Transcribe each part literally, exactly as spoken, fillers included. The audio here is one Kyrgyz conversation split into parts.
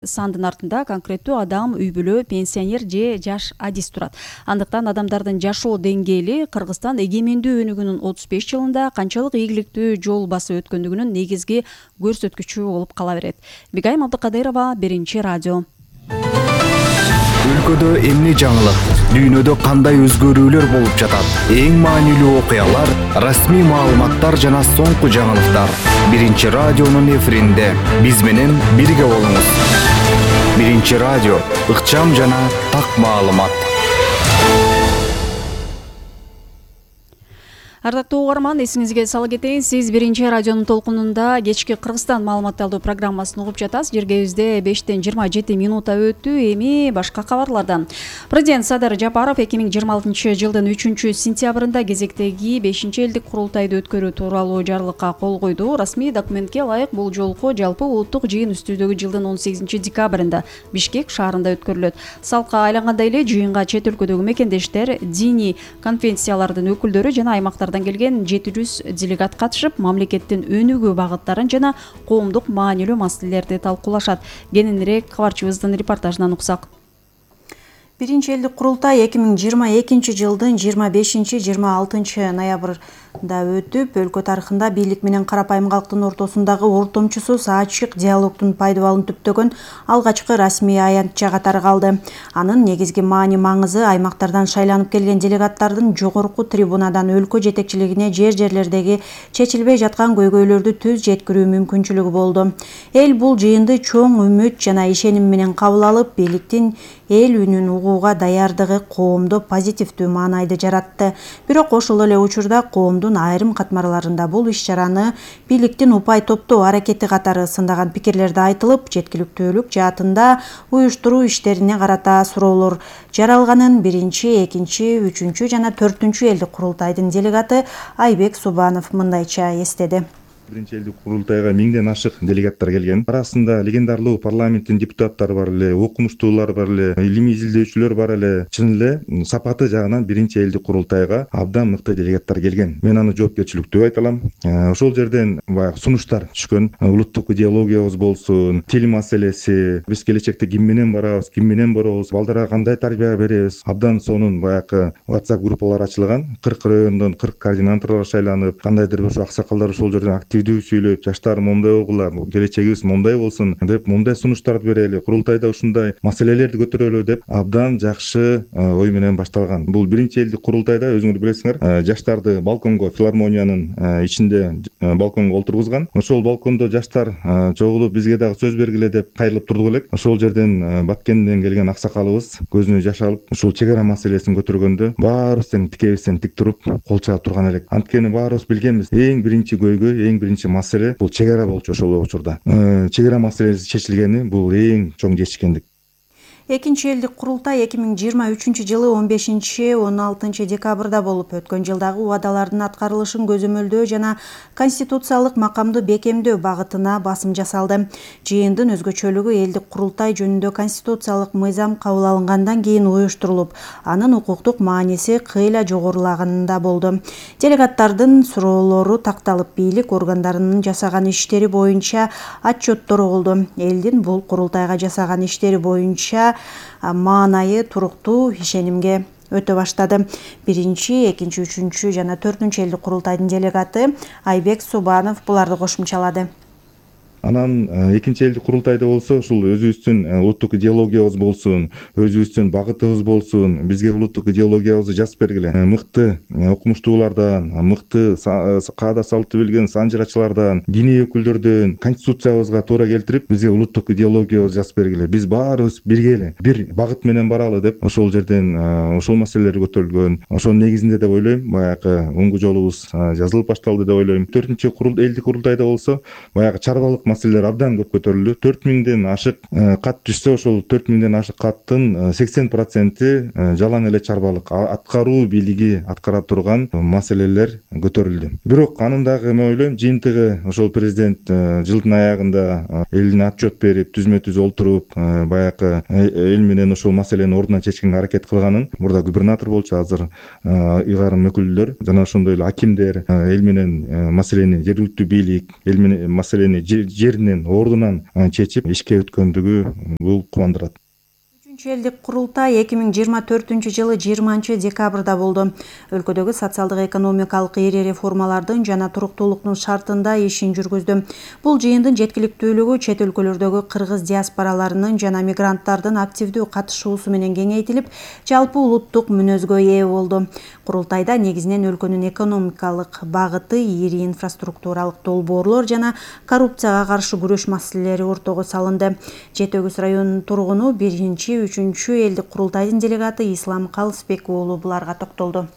Сандын артында конкреттүү адам, үй бүлө, пенсионер же жаш адис турат. Андыктан адамдардын жашоо деңгээли Кыргызстан эгемендүү өнүгүүнүн отуз беш жылында канчалык ийгиликтүү жол басып өткөндүгүнүн негизги көрсөткүчү болуп кала берет. Бигайым Абдыкадырова, Биринчи радио. Өлкөдө эмне жаңылык, дүйнөдө кандай өзгөрүүлөр болуп жатат? Эң маанилүү окуялар, расмий маалыматтар жана соңку жаңылыктар. Биринчи радионун эфиринде биз менен бирге болуңуз. Биринчи радио, ыкчам жана так маалымат. Ардактуу угарман, эсиңизге сала кетейин, сиз Биринчи радионун толкунунда кечки Кыргызстан маалыматталдуу программасын угуп жатасыз. Жергебизде бештен жыйырма жети минутта өттү. Эми башка кабарлардан. Президент Садыр Жапаров эки миң жыйырма алтынчы жылдын үчүнчү сентябрында кезектеги бешинчи элдик курултайды өткөрүү тууралуу жарлыкка кол койду. Расмий документке ылайык бул жолку жалпы улуттук жыйын үстүдөгү жылдын он сегизинчи декабрында Бишкек шаарында өткөрүлөт. Салкка айлангандай эле жыйынга чет өлкөдөгү мекендештер, диний конфессиялардын өкүлдөрү жана аймактар келген жети жүз делегат катышып, мамлекеттин өнүгүү багыттарын жана коомдук маанилүү маселелерди талкуулашат. Кененирээк кабарчыбыздын репортажынан уксак. Биринчи элдик курултай эки миң жыйырма экинчи жылдын жыйырма бешинчи жыйырма алтынчы ноябрда өтүп, өлкө тарыхында бийлик менен карапайым калктын ортосундагы ортомчусуз ачык диалогдун пайдабалын түптөгөн алгачкы расмий аянтча катары калды. Анын негизги маани маңызы аймактардан шайланып келген делегаттардын жогорку трибунадан өлкө жетекчилигине жер-жерлердеги чечилбей жаткан көйгөйлөрдү түз жеткирүү мүмкүнчүлүгү болду. Эл бул жыйынды чоң үмүт жана ишеним менен кабыл алып, бийликтин эл үнүн угууга даярдыгы коомдо позитивдүү маанайды жаратты. Бирок ошол эле учурда коомдун айрым катмарларында бул иш-чараны бийликтин упай топтоо аракети катары сындаган пикирлерди айтылып, жеткиликтүүлүк жаатында уюштуруу иштерине карата суроолор жаралганын биринчи, экинчи, үчүнчү жана төртүнчү элдик курултайдын делегаты Айбек Субанов мындайча эстеди. Биринчи элдик курултайга миңден ашык делегаттар келген. Арасында легендарлуу парламенттин депутаттары бар эле, окумуштуулар бар эле, илимий изилдөөчүлөр бар эле. Чын эле сапаты жагынан биринчи элдик курултайга абдан мыкты делегаттар келген. Мен аны жоопкерчиликтүү айта алам. Ошол жерден баягы сунуштар түшкөн. Улуттук идеологиябыз болсун, тил маселеси, биз келечекте ким менен барабыз, ким менен барабыз, балдарга кандай тарбия беребиз. Абдан сонун баягы WhatsApp группалар ачылган. кырк райондон кырк координаторлор шайланып, кандайдыр бир аксакалдар ошол жерден актив сүйлөп, жаштар момундай болгула, келечегибиз момундай болсун деп, момундай сунуштарды берели, курултайда ушундай маселелерди көтөрөлү деп абдан жакшы ой менен башталган. Бул биринчи элдик курултайда өзүңөр билесиңер, жаштарды балконго, филармониянын ичинде балконго олтургузган. Ошол балкондо жаштар чогулуп бизге дагы сөз бергиле деп кайрылып турдук элек. Ошол жерден Баткенден келген аксакалыбыз көзүнө жаш алып, ушул чек ара маселесин көтөргөндө баарыбыз тең тикебизден тик туруп кол чаап турган элек. Анткени баарыбыз билгенбиз, эң биринчи көйгөй, эң биринчи маселе бул чек ара болчу ошол учурда. Чек ара маселеси чечилгени бул эң чоң жетишкендик. Экинчи элдик курултай эки миң жыйырма үчүнчү жылы он бешинчи он алтынчы декабрда болуп, өткөн жылдагы убадалардын аткарылышын көзөмөлдөө жана конституциялык макамды бекемдөө багытына басым жасалды. Жыйындын өзгөчөлүгү элдик курултай жөнүндө конституциялык мыйзам кабыл алынгандан кийин уюштурулуп, анын укуктук мааниси кыйла жогорулаганында болду. Делегаттардын суроолору такталып, бийлик органдарынын жасаган иштери боюнча отчеттору болду. Элдин бул курултайга жасаган иштери боюнча маанайы туруктуу ишенимге өтө баштады. Биринчи, экинчи, үчүнчү жана төртүнчү элдик курултайдын делегаты Айбек Субанов буларды кошумчалады. Анан экинчи элдик курултайда болсо, ушул өзүбүздүн улуттук идеологиябыз болсун, өзүбүздүн багытыбыз болсун, бизге улуттук идеологиябызды жазып бергиле. Мыкты окумуштуулардан, мыкты каада салты билген санжырачылардан, диний өкүлдөрдөн конституциябызга туура келтирип, бизге улуттук идеологиябызды жазып бергиле. Биз баарыбыз бирге эле бир багыт менен баралы деп, ошол жерден ошол маселелер көтөрүлгөн. Ошонун негизинде деп ойлойм, баягы оңгу жолубуз жазылып башталды деп ойлойм. төртүнчү элдик курултайда болсо, баягы чарбалык маселелер абдан көп көтөрүлдү. төрт миңден ашык кат түшсө, ошол төрт миңден ашык каттын сексен проценти жалаң эле чарбалык, аткаруу бийлиги аткара турган маселелер көтөрүлдү. Бирок анын дагы мен ойлойм, жыйынтыгы ошол президент жылдын аягында элине отчет берип, түзмө-түз олтуруп, баягы эл менен ошол маселени ордуна чечкенге аракет кылганын, мурда губернатор болчу, азыр ыйгарым өкүлдөр жана ошондой эле акимдер эл менен маселени, жергиликтүү бийлик эл менен маселени жеринен ордунан чечип ишке өткөндүгү бул кубандырат. Үчүнчү элдик курултай эки миң жыйырма төртүнчү жылы жыйырманчы декабрда болду. Өлкөдөгү социалдык экономикалык ири реформалардын жана туруктуулуктун шартында ишин жүргүздү. Бул жыйындын жеткиликтүүлүгү чет өлкөлөрдөгү кыргыз диаспораларынын жана мигранттардын активдүү катышуусу менен кеңейтилип, жалпы улуттук мүнөзгө ээ болду. Курултайда негизинен өлкөнүн экономикалык багыты, ири инфраструктуралык долбоорлор жана коррупцияга каршы күрөш маселелери ортого салынды. Жети Өгүз районунун тургуну биринчи үчүнчү элдик курултайдын делегаты Ислам Калысбек уулу буларга токтолду.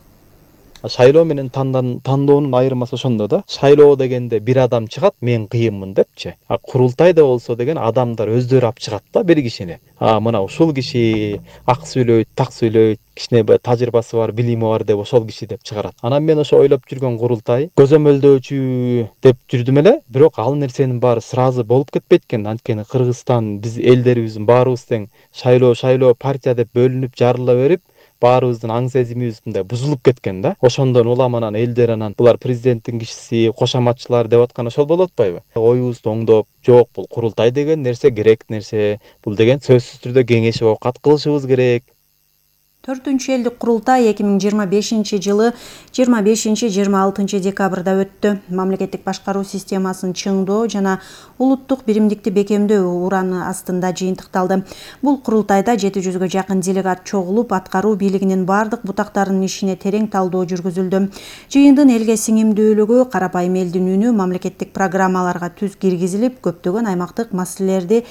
Шайлоо менен тандоонун айырмасы ошондо да. Шайлоо дегенде бир адам чыгат, мен кыйынмын депчи. А курултайда болсо деген адамдар өздөрү алып чыгат да бир кишини. А мына ушул киши ак сүйлөйт, так сүйлөйт, кичине тажрыйбасы бар, билими бар деп ошол киши деп чыгарат. Анан мен ошо ойлоп жүргөн курултай көзөмөлдөөчү деп жүрдүм эле, бирок ал нерсенин баары сразу болуп кетпейт экен. Анткени Кыргызстан биз элдерибиздин баарыбыз тең шайлоо шайлоо партия деп бөлүнүп жарыла берип, баарыбыздын аң сезимибиз мындай бузулуп кеткен да. Ошондон улам анан элдер анан булар президенттин кишиси, кошоматчылар деп аткан ошол болуп атпайбы? Оюбузду оңдоп, жок бул курултай деген нерсе керек нерсе. Бул деген сөзсүз түрдө кеңешип оокат кылышыбыз керек. Төртүнчү элдик курултай эки миң жыйырма бешинчи жылы жыйырма бешинчи жыйырма алтынчы декабрда өттү. Мамлекеттик башкаруу системасын чыңдоо жана улуттук биримдикти бекемдөө ураны астында жыйынтыкталды. Бул курултайда жети жүзгө жакын делегат чогулуп, аткаруу бийлигинин бардык бутактарынын ишине терең талдоо жүргүзүлдү. Жыйындын элге сиңимдүүлүгү, карапайым элдин үнү мамлекеттик программаларга түз киргизилип, көптөгөн аймактык маселелерди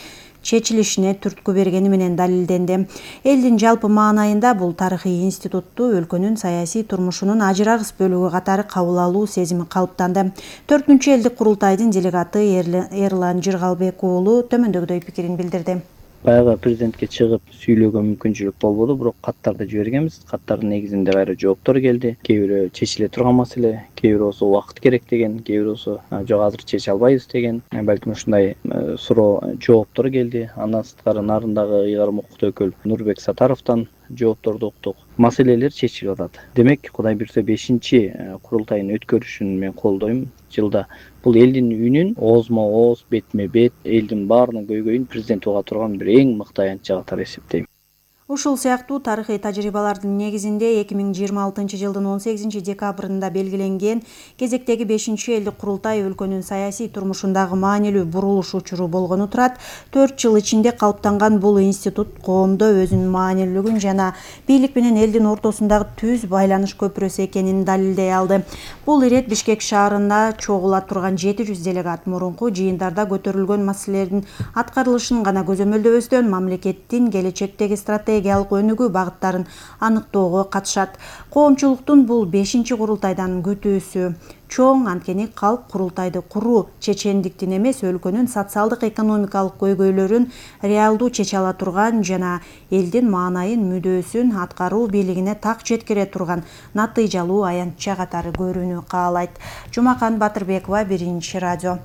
чечилишине түрткү бергени менен далилденди. Элдин жалпы маанайында бул тарыхый институтту өлкөнүн саясий турмушунун ажырагыс бөлүгү катары кабыл алуу сезими калыптанды. Төртүнчү элдик курултайдын делегаты Эрлан Жыргалбек уулу төмөндөгүдөй пикирин билдирди. Баягы президентке чыгып сүйлөөгө мүмкүнчүлүк болбоду, бирок каттарды жибергенбиз. Каттардын негизинде кайра жооптор келди. Кээ бирөө чечиле турган маселе, кээ бирөө болсо убакыт керек деген, кээ бирөө болсо жок азыр чече албайбыз деген. Балким ушундай суроо жооптор келди. Андан сырткары нарындагы ыйгарым укуктуу өкүл Нурбек Сатаровдон жоопторду уктук. Маселелер чечилип атат. Демек, Кудай буйрса бешинчи курултайын өткөрүшүн мен колдойм. Жылда бул элдин үнүн оозмо ооз, бетме бет, элдин баарынын көйгөйүн президент уга турган бир эң мыкты аянтча катары эсептейм. Ушул сыяктуу тарыхый тажрыйбалардын негизинде эки миң жыйырма алтынчы жылдын он сегизинчи декабрында белгиленген кезектеги бешинчи элдик курултай өлкөнүн саясий турмушундагы маанилүү бурулуш учуру болгону турат. төрт жыл ичинде калыптанган бул институт коомдо өзүнүн маанилүүлүгүн жана бийлик менен элдин ортосундагы түз байланыш көпүрөсү экенин далилдей алды. Бул ирет Бишкек шаарында чогула турган жети жүз делегат мурунку жыйындарда көтөрүлгөн маселелердин аткарылышын гана көзөмөлдөбөстөн мамлекеттин келечектеги стратегия өнүгүү багыттарын аныктоого катышат. Коомчулуктун бул бешинчи курултайдан күтүүсү чоң, анткени калк курултайды куруу чечендиктин эмес, өлкөнүн социалдык экономикалык көйгөйлөрүн реалдуу чече ала турган жана элдин маанайын, мүдөөсүн аткаруу бийлигине так жеткире турган натыйжалуу аянтча катары көрүүнү каалайт. Жумакан Батырбекова, Биринчи радио.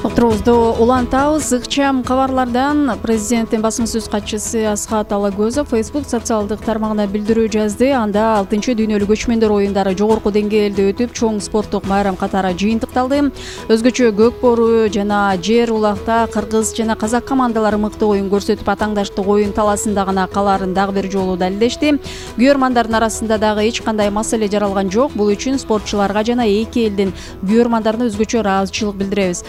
Отурубузду улантабыз. Ыкчам кабарлардан президенттин басма сөз катчысы Асхат Алагөзов Facebook социалдык тармагына билдирүү жазды. Анда алтынчы дүйнөлүк көчмөндөр оюндары жогорку деңгээлде өтүп, чоң спорттук майрам катары жыйынтыкталды. Өзгөчө көк бору жана жер улакта кыргыз жана казак командалары мыкты оюн көрсөтүп, атаңдаштык оюн таласында гана калаарын дагы бир жолу далилдешти. Күйөрмандардын арасында дагы эч кандай маселе жаралган жок. Бул үчүн спортчуларга жана эки элдин күйөрмандарына өзгөчө ыраазычылык билдиребиз.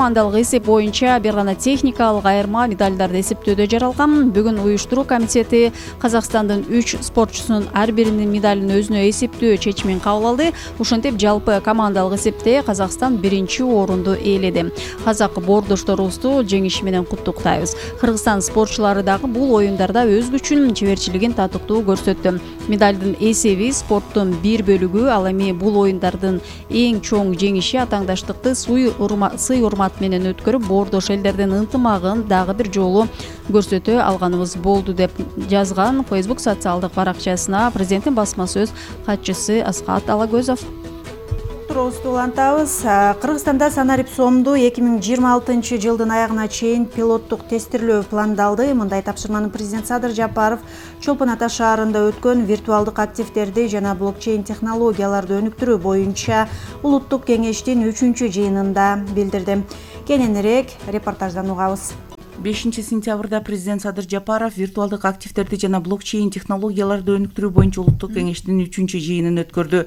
Командалык эсеп боюнча бир гана техникалык айырма медалдарды эсептөөдө жаралган. Бүгүн уюштуруу комитети Казакстандын үч спортчусунун ар биринин медалын өзүнө эсептөө чечимин кабыл алды. Ушинтип жалпы командалык эсепте Казакстан биринчи орунду ээледи. Казак боордошторубузду жеңиши менен куттуктайбыз. Кыргызстан спортчулары дагы бул оюндарда өз күчүн, чеберчилигин татыктуу көрсөттү. Медалдын эсеби спорттун бир бөлүгү, ал эми бул оюндардын эң чоң жеңиши атаңдаштыкты сый урмат менен өткөрүп, боордош элдердин ынтымагын дагы бир жолу көрсөтө алганыбыз болду деп жазган Facebook социалдык баракчасына президенттин басма сөз катчысы Асхат Алагөзов. туурабызды улантабыз. Кыргызстанда санарип сомду эки миң жыйырма алтынчы жылдын аягына чейин пилоттук тестирлөө пландалды. Мындай тапшырманы президент Садыр Жапаров Чолпон Ата шаарында өткөн виртуалдык активдерди жана блокчейн технологияларды өнүктүрүү боюнча улуттук кеңештин үчүнчү жыйынында билдирди. Кененирээк репортаждан угабыз. бешинчи сентябрда президент Садыр Жапаров виртуалдык активдерди жана блокчейн технологияларды өнүктүрүү боюнча улуттук кеңештин үчүнчү жыйынын өткөрдү.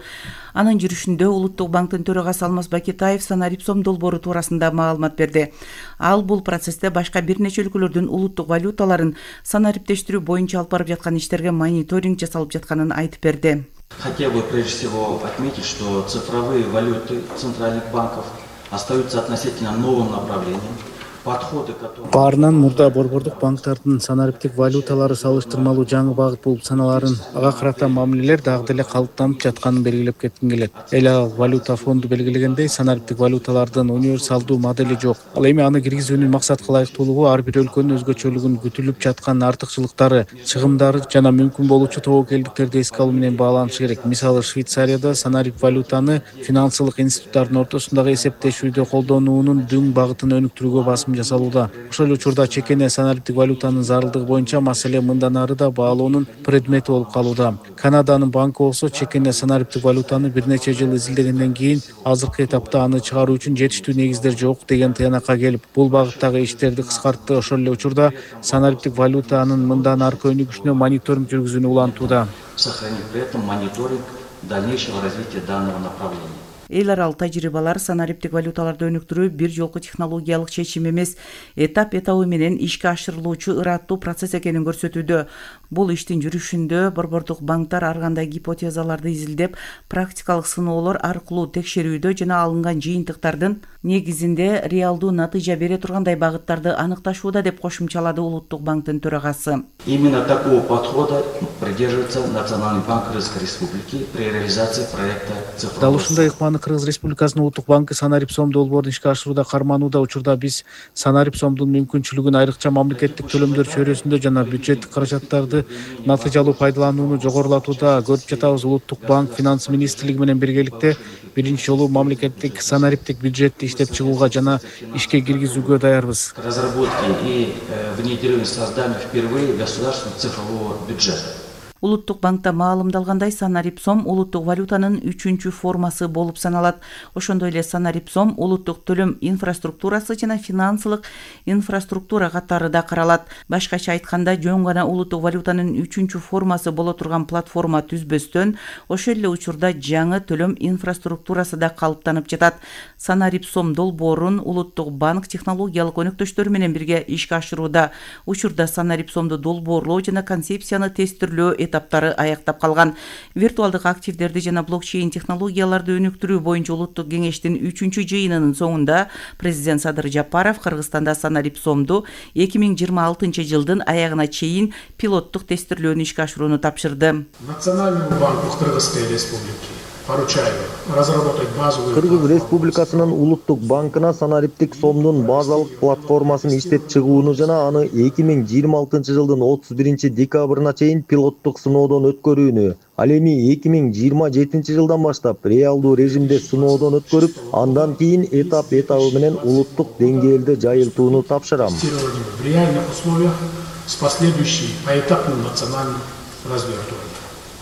Анын жүрүшүндө Улуттук банктын төрагасы Алмаз Бакетаев санарип сом долбоору туурасында маалымат берди. Ал бул процессте башка бир нече өлкөлөрдүн улуттук валюталарын санариптештирүү боюнча алып барып жаткан иштерге мониторинг жасалып жатканын айтып берди. Хотел бы прежде всего отметить, что цифровые валюты центральных банков остаются относительно новым направлением. Баарынан мурда борбордук банктардын санариптик валюталары салыштырмалуу жаңы багыт болуп саналарын, ага карата мамилелер дагы деле калыптанып жатканын белгилеп кетким келет. Эл аралык валюта фонду белгилегендей, санариптик валюталардын универсалдуу модели жок. Ал эми аны киргизүүнүн максатка ылайыктуулугу ар бир өлкөнүн өзгөчөлүгүн, күтүлүп жаткан артыкчылыктары, чыгымдары жана мүмкүн болуучу тобокелдиктерди эске алуу менен бааланышы керек. Мисалы, Швейцарияда санарип валютаны финансылык институттардын ортосундагы эсептешүүдө колдонуунун дөң багытын өнүктүрүүгө басым жасалууда. Ошол эле учурда чекене санариптик валютанын зарылдыгы боюнча маселе мындан ары да баалоонун предмети болуп калууда. Канаданын банкы болсо чекене санариптик валютаны бир нече жыл изилдегенден кийин азыркы этапта аны чыгаруу үчүн жетиштүү негиздер жок деген тыянакка келип, бул багыттагы иштерди кыскартты. Ошол эле учурда санариптик валютанын мындан аркы өнүгүшүнө мониторинг жүргүзүүнү улантууда. Сохранить при этом мониторинг дальнейшего развития данного направления. Эл аралык тажрыйбалар санариптик валюталарды өнүктүрүү бир жолку технологиялык чечим эмес, этап этабы менен ишке ашырылуучу ыраттуу процесс экенин көрсөтүүдө. Бул иштин жүрүшүндө борбордук банктар ар кандай гипотезаларды изилдеп, практикалык сыноолор аркылуу текшерүүдө жана алынган жыйынтыктардын негизинде реалдуу натыйжа бере тургандай багыттарды аныкташууда, деп кошумчалады Улуттук банктын төрагасы. Именно такого подхода придерживается Национальный банк Кыргызской Республики при реализации проекта цифрового. Дал ушундай ыкманы Кыргыз Республикасынын Улуттук банкы санарип сом долбоорун ишке ашырууда карманууда. Учурда биз санарип сомдун мүмкүнчүлүгүн айрыкча мамлекеттик төлөмдөр чөйрөсүндө жана бюджеттик каражаттарды натыйжалуу пайдаланууну жогорулатууда көрүп жатабыз. Улуттук банк Финанс министрлиги менен биргеликте биринчи жолу мамлекеттик санариптик бюджетти иштеп чыгууга жана ишке киргизүүгө даярбыз. Разработки и внедрению создания впервые государственного цифрового бюджета. Улуттук банкта маалымдалгандай, санарип сом улуттук валютанын үчүнчү формасы болуп саналат. Ошондой эле санарип сом улуттук төлөм инфраструктурасы жана финансылык инфраструктура катары да каралат. Башкача айтканда, жөн гана улуттук валютанын үчүнчү формасы боло турган платформа түзбөстөн, ошол эле учурда жаңы төлөм инфраструктурасы да калыптанып жатат. Санарип сом долбоорун Улуттук банк технологиялык өнөктөштөр менен бирге ишке ашырууда. Учурда санарип сомду долбоорлоо жана концепцияны тестирлөө этаптары аяктап калган. Виртуалдык активдерди жана блокчейн технологияларды өнүктүрүү боюнча улуттук кеңештин үчүнчү жыйынынын соңунда президент Садыр Жапаров Кыргызстанда санарип сомду эки миң жыйырма алтынчы жылдын аягына чейин пилоттук тестирлөөнү ишке ашырууну тапшырды. Национальному банку Кыргызской Республики поручаю разработать базовую. Кыргыз Республикасынын Улуттук банкына санариптик сомдун базалык платформасын иштеп чыгууну жана аны эки миң жыйырма алтынчы жылдын отуз биринчи декабрына чейин пилоттук сыноодон өткөрүүнү, ал эми эки миң жыйырма жетинчи жылдан баштап реалдуу режимде сыноодон өткөрүп, андан кийин этап этабы менен улуттук деңгээлде жайылтууну тапшырам. В реальных условиях с последующей поэтапным национальным развертыванием.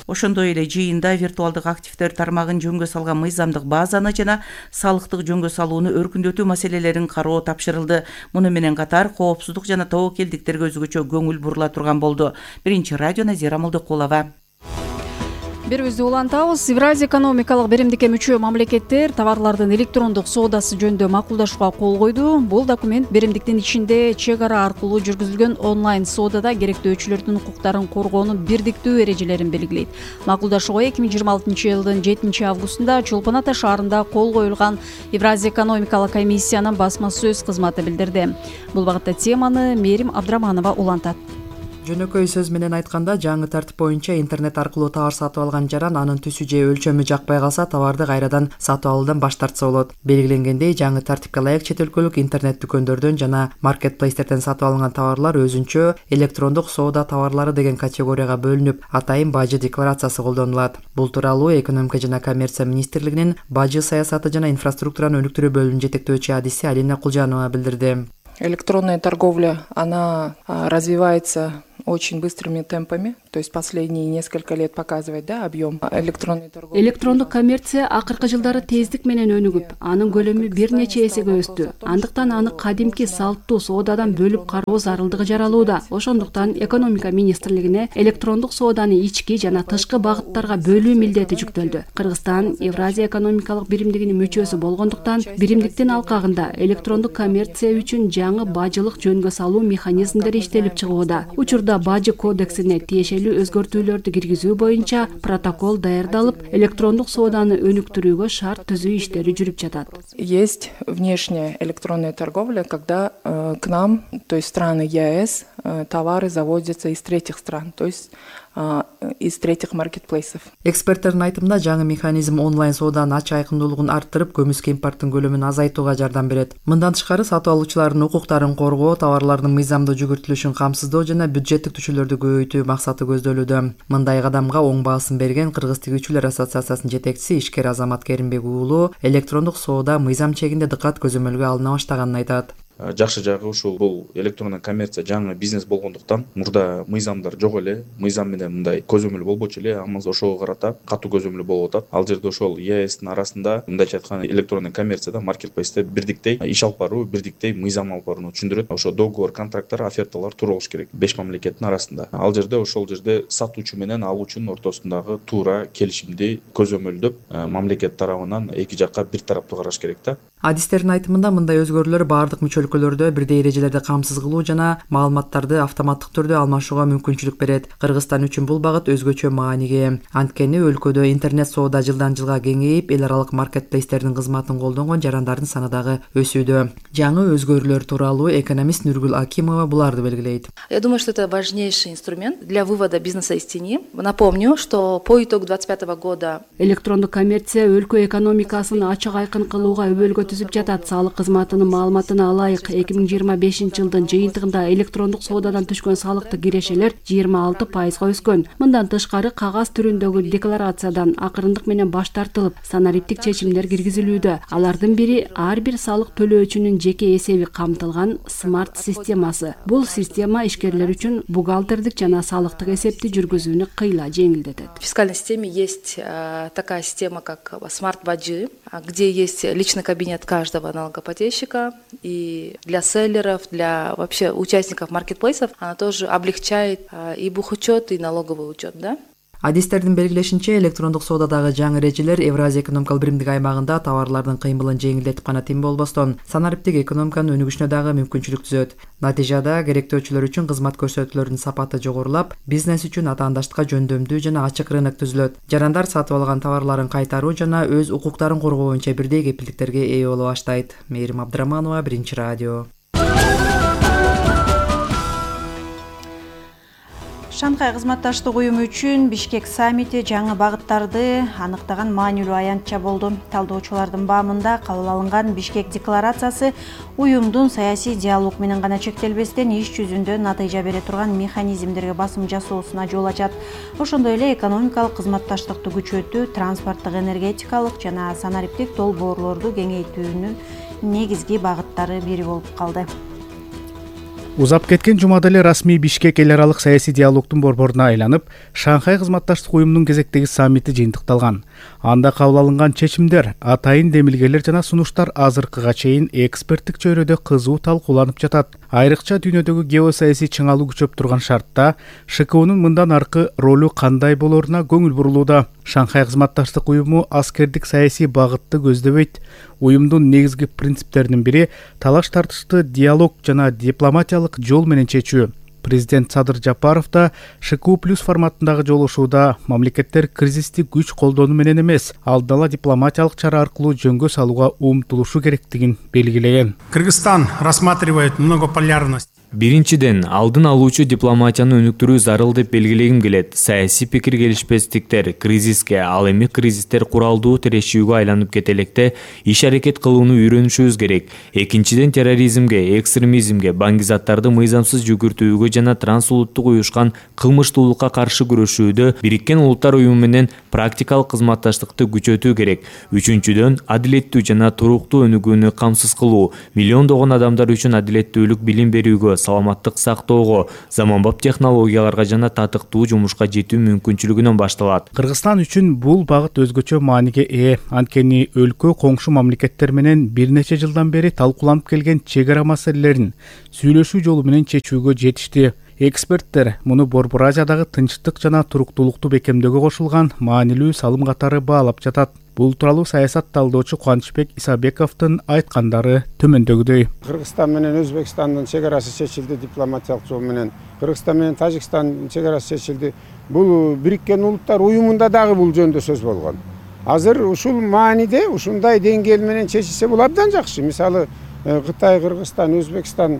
Ошондой эле жыйында виртуалдык активдер тармагын жөнгө салган мыйзамдык базаны жана салыктык жөнгө салууну өркүндөтүү маселелерин кароо тапшырылды. Муну менен катар коопсуздук жана тобокелдиктерге өзгөчө көңүл бурула турган болду. Биринчи радио Назира Молдокулова. Бирибизди улантабыз. Евразия экономикалык биримдикке мүчө мамлекеттер товарлардын электрондук соодасы жөнүндө макулдашууга кол койду. Бул документ биримдиктин ичинде чек ара аркылуу жүргүзүлгөн онлайн соодада керектөөчүлөрдүн укуктарын коргоонун бирдиктүү эрежелерин белгилейт. Макулдашууга эки миң жыйырма алтынчы жылдын жетинчи августунда Чолпон Ата шаарында кол коюлган Евразия экономикалык комиссиянын басма сөз кызматы билдирди. Бул багытта теманы Мерим Абдраманова улантат. Жөнөкөй сөз менен айтканда, жаңы тартип боюнча интернет аркылуу товар сатып алган жаран анын түсү же өлчөмү жакпай калса товарды кайрадан сатып алуудан баш тартса болот. Белгиленгендей, жаңы тартипке ылайык чет өлкөлүк интернет дүкөндөрдөн жана маркетплейстерден сатып алынган товарлар өзүнчө электрондук соода товарлары деген категорияга бөлүнүп, атайын бажы декларациясы колдонулат. Бул тууралуу Экономика жана коммерция министрлигинин бажы саясаты жана инфраструктураны өнүктүрүү бөлүмүнүн жетектөөчү адиси Алина Кулжанова билдирди. Электронная торговля, она развивается очень быстрыми темпами, то есть последние несколько лет показывает, да, объем электронной торговли. Электрондук коммерция акыркы жылдары тездик менен өнүгүп, анын көлөмү бир нече эсеге өстү. Андыктан аны кадимки салттуу соодадан бөлүп кароо зарылдыгы жаралууда. Ошондуктан экономика министрлигине электрондук сооданы ички жана тышкы багыттарга бөлүү милдети жүктөлдү. Кыргызстан Евразия экономикалык биримдигинин мүчөсү болгондуктан, биримдиктин алкагында электрондук коммерция үчүн жаңы бажылык жөнгө салуу механизмдери иштелип чыгууда. Учурда бажы кодексине тиешелүү өзгөртүүлөрдү киргизүү боюнча протокол даярдалып, электрондук сооданы өнүктүрүүгө шарт түзүү иштери жүрүп жатат. Есть внешняя электронная торговля, когда э, к нам, то есть страны ЕАЭС, э, товары завозятся из третьих стран, то есть из третьих маркетплейсов. Эксперттердин айтымында, жаңы механизм онлайн сооданын ачык айкындуулугун арттырып, көмүскө импорттун көлөмүн азайтууга жардам берет. Мындан тышкары, сатып алуучулардын укуктарын коргоо, товарлардын мыйзамдуу жүгүртүлүшүн камсыздоо жана бюджеттик түшүүлөрдү көбөйтүү максаты көздөлүүдө. Мындай кадамга оң баасын берген Кыргыз тигүүчүлөр ассоциациясынын жетекчиси ишкер Азамат Керимбек уулу электрондук соода мыйзам чегинде дыкат көзөмөлгө алына баштаганын айтат. Жакшы жагы ушул бул электрондук коммерция жаңы бизнес болгондуктан мурда мыйзамдар жок эле, мыйзам менен мындай көзөмөл болбочу эле, амма ошого карата катуу көзөмөл болуп атат. Ал жерде ошол ЕАЭСтин арасында мындайча айтканда электрондук коммерцияда маркетплейсте бирдиктей иш алып баруу, бирдиктей мыйзам алып барууну түшүндүрөт. Ошо договор, контракттар, оферталар туура болуш керек беш мамлекеттин арасында. Ал жерде ошол жерде сатуучу менен алуучунун ортосундагы туура келишимди көзөмөлдөп, мамлекет тарабынан эки жакка бир тараптуу караш керек да. Адистердин айтымында, мындай өзгөрүүлөр баардык мүчө өлкөлөрдө бирдей эрежелерди камсыз кылуу жана маалыматтарды автоматтык түрдө алмашууга мүмкүнчүлүк берет. Кыргызстан үчүн бул багыт өзгөчө мааниге. Анткени өлкөдө интернет соода жылдан жылга кеңейип, эл аралык маркетплейстердин кызматын колдонгон жарандардын саны дагы өсүүдө. Жаңы өзгөрүүлөр тууралуу экономист Нургул Акимова буларды белгилейт. Я думаю, что это важнейший инструмент для вывода бизнеса из тени. Напомню, что по итогу двадцать пятого года электрондук коммерция өлкө экономикасын ачык айкын кылууга өбөлгө түзүп жатат. Салык кызматынын маалыматына алайык, эки миң жыйырма бешинчи жылдын жыйынтыгында электрондук соодадан түшкөн салыктык кирешелер жыйырма алты пайызга өскөн. Мындан тышкары, кагаз түрүндөгү декларациядан акырындык менен баш тартылып, санариптик чечимдер киргизилүүдө. Алардын бири ар бир салык төлөөчүнүн жеке эсеби камтылган смарт системасы. Бул система ишкерлер үчүн бухгалтердик жана салыктык эсепти жүргүзүүнү кыйла жеңилдетет. В фискальной системе есть э, такая система, как смарт-баджи, где есть личный кабинет каждого налогоплательщика, и для селлеров, для вообще участников маркетплейсов она тоже облегчает э, и бухучет, и налоговый учет, да? Адистердин белгилешинче, электрондук соодадагы жаңы эрежелер Евразия экономикалык биримдик аймагында товарлардын кыймылын жеңилдетип гана тим болбостон, санариптик экономиканын өнүгүшүнө дагы мүмкүнчүлүк түзөт. Натыйжада керектөөчүлөр үчүн кызмат көрсөтүүлөрдүн сапаты жогорулап, бизнес үчүн атаандаштыкка жөндөмдүү жана ачык рынок түзүлөт. Жарандар сатып алган товарларын кайтаруу жана өз укуктарын коргоо боюнча бирдей кепилдиктерге ээ боло баштайт. Мээрим Абдыраманова, Биринчи радио. Шанхай кызматташтык уюму үчүн Бишкек саммити жаңы багыттарды аныктаган маанилүү аянтча болду. Талдоочулардын баамында кабыл алынган Бишкек декларациясы уюмдун саясий диалог менен гана чектелбестен иш жүзүндө натыйжа бере турган механизмдерге басым жасоосуна жол ачат. Ошондой эле экономикалык кызматташтыкты күчөтүү, транспорттук, энергетикалык жана санариптик долбоорлорду кеңейтүүнүн негизги багыттары бири болуп калды. Узап кеткен жумада эле расмий Бишкек эл аралык саясий диалогдун борборуна айланып, Шанхай кызматташтык уюмунун кезектеги саммити жыйынтыкталган. Анда кабыл алынган чечимдер, атайын демилгелер жана сунуштар азыркыга чейин эксперттик чөйрөдө кызуу талкууланып жатат. Айрыкча дүйнөдөгү геосаясий чыңалуу күчөп турган шартта Ш К Унун мындан аркы ролу кандай болоруна көңүл бурулууда. Шанхай кызматташтык уюму аскердик саясий багытты көздөбөйт. Уюмдун негизги принциптеринин бири талаш тартышты диалог жана дипломатиялык жол менен чечүү. Президент Садыр Жапаров да Ш К У плюс форматындагы жолугушууда мамлекеттер кризисти күч колдонуу менен эмес, алдын ала дипломатиялык чара аркылуу жөнгө салууга умтулушу керектигин белгилеген. Кыргызстан рассматривает многополярность. Биринчиден, алдын алуучу дипломатияны өнүктүрүү зарыл деп белгилегим келет. Саясий пикир келишпестиктер кризиске, ал эми кризистер куралдуу тирешүүгө айланып кете электе иш аракет кылууну үйрөнүшүбүз керек. Экинчиден, терроризмге, экстремизмге, баңгизаттарды мыйзамсыз жүгүртүүгө жана трансулуттук уюшкан кылмыштуулукка каршы күрөшүүдө Бириккен Улуттар уюму менен практикалык кызматташтыкты күчөтүү керек. Үчүнчүдөн, адилеттүү жана туруктуу өнүгүүнү камсыз кылуу, миллиондогон адамдар үчүн адилеттүүлүк билим берүүгө, саламаттык сактоого, заманбап технологияларга жана татыктуу жумушка жетүү мүмкүнчүлүгүнөн башталат. Кыргызстан үчүн бул багыт өзгөчө мааниге ээ. Анткени өлкө коңшу мамлекеттер менен бир нече жылдан бери талкууланып келген чек ара маселелерин сүйлөшүү жолу менен чечүүгө жетишти. Эксперттер муну Борбор Азиядагы тынчтык жана туруктуулукту бекемдөөгө кошулган маанилүү салым катары баалап жатат. Бул тууралуу саясат талдоочу Кубанычбек Исабековдун айткандары төмөндөгүдөй. Кыргызстан менен Өзбекстандын чек арасы чечилди дипломатиялык жол менен. Кыргызстан менен Тажикстандын чек арасы чечилди. Бул Бириккен Улуттар уюмунда дагы бул жөнүндө сөз болгон. Азыр ушул мааниде ушундай деңгээл менен чечилсе бул абдан жакшы. Мисалы Кытай, Кыргызстан, Өзбекстан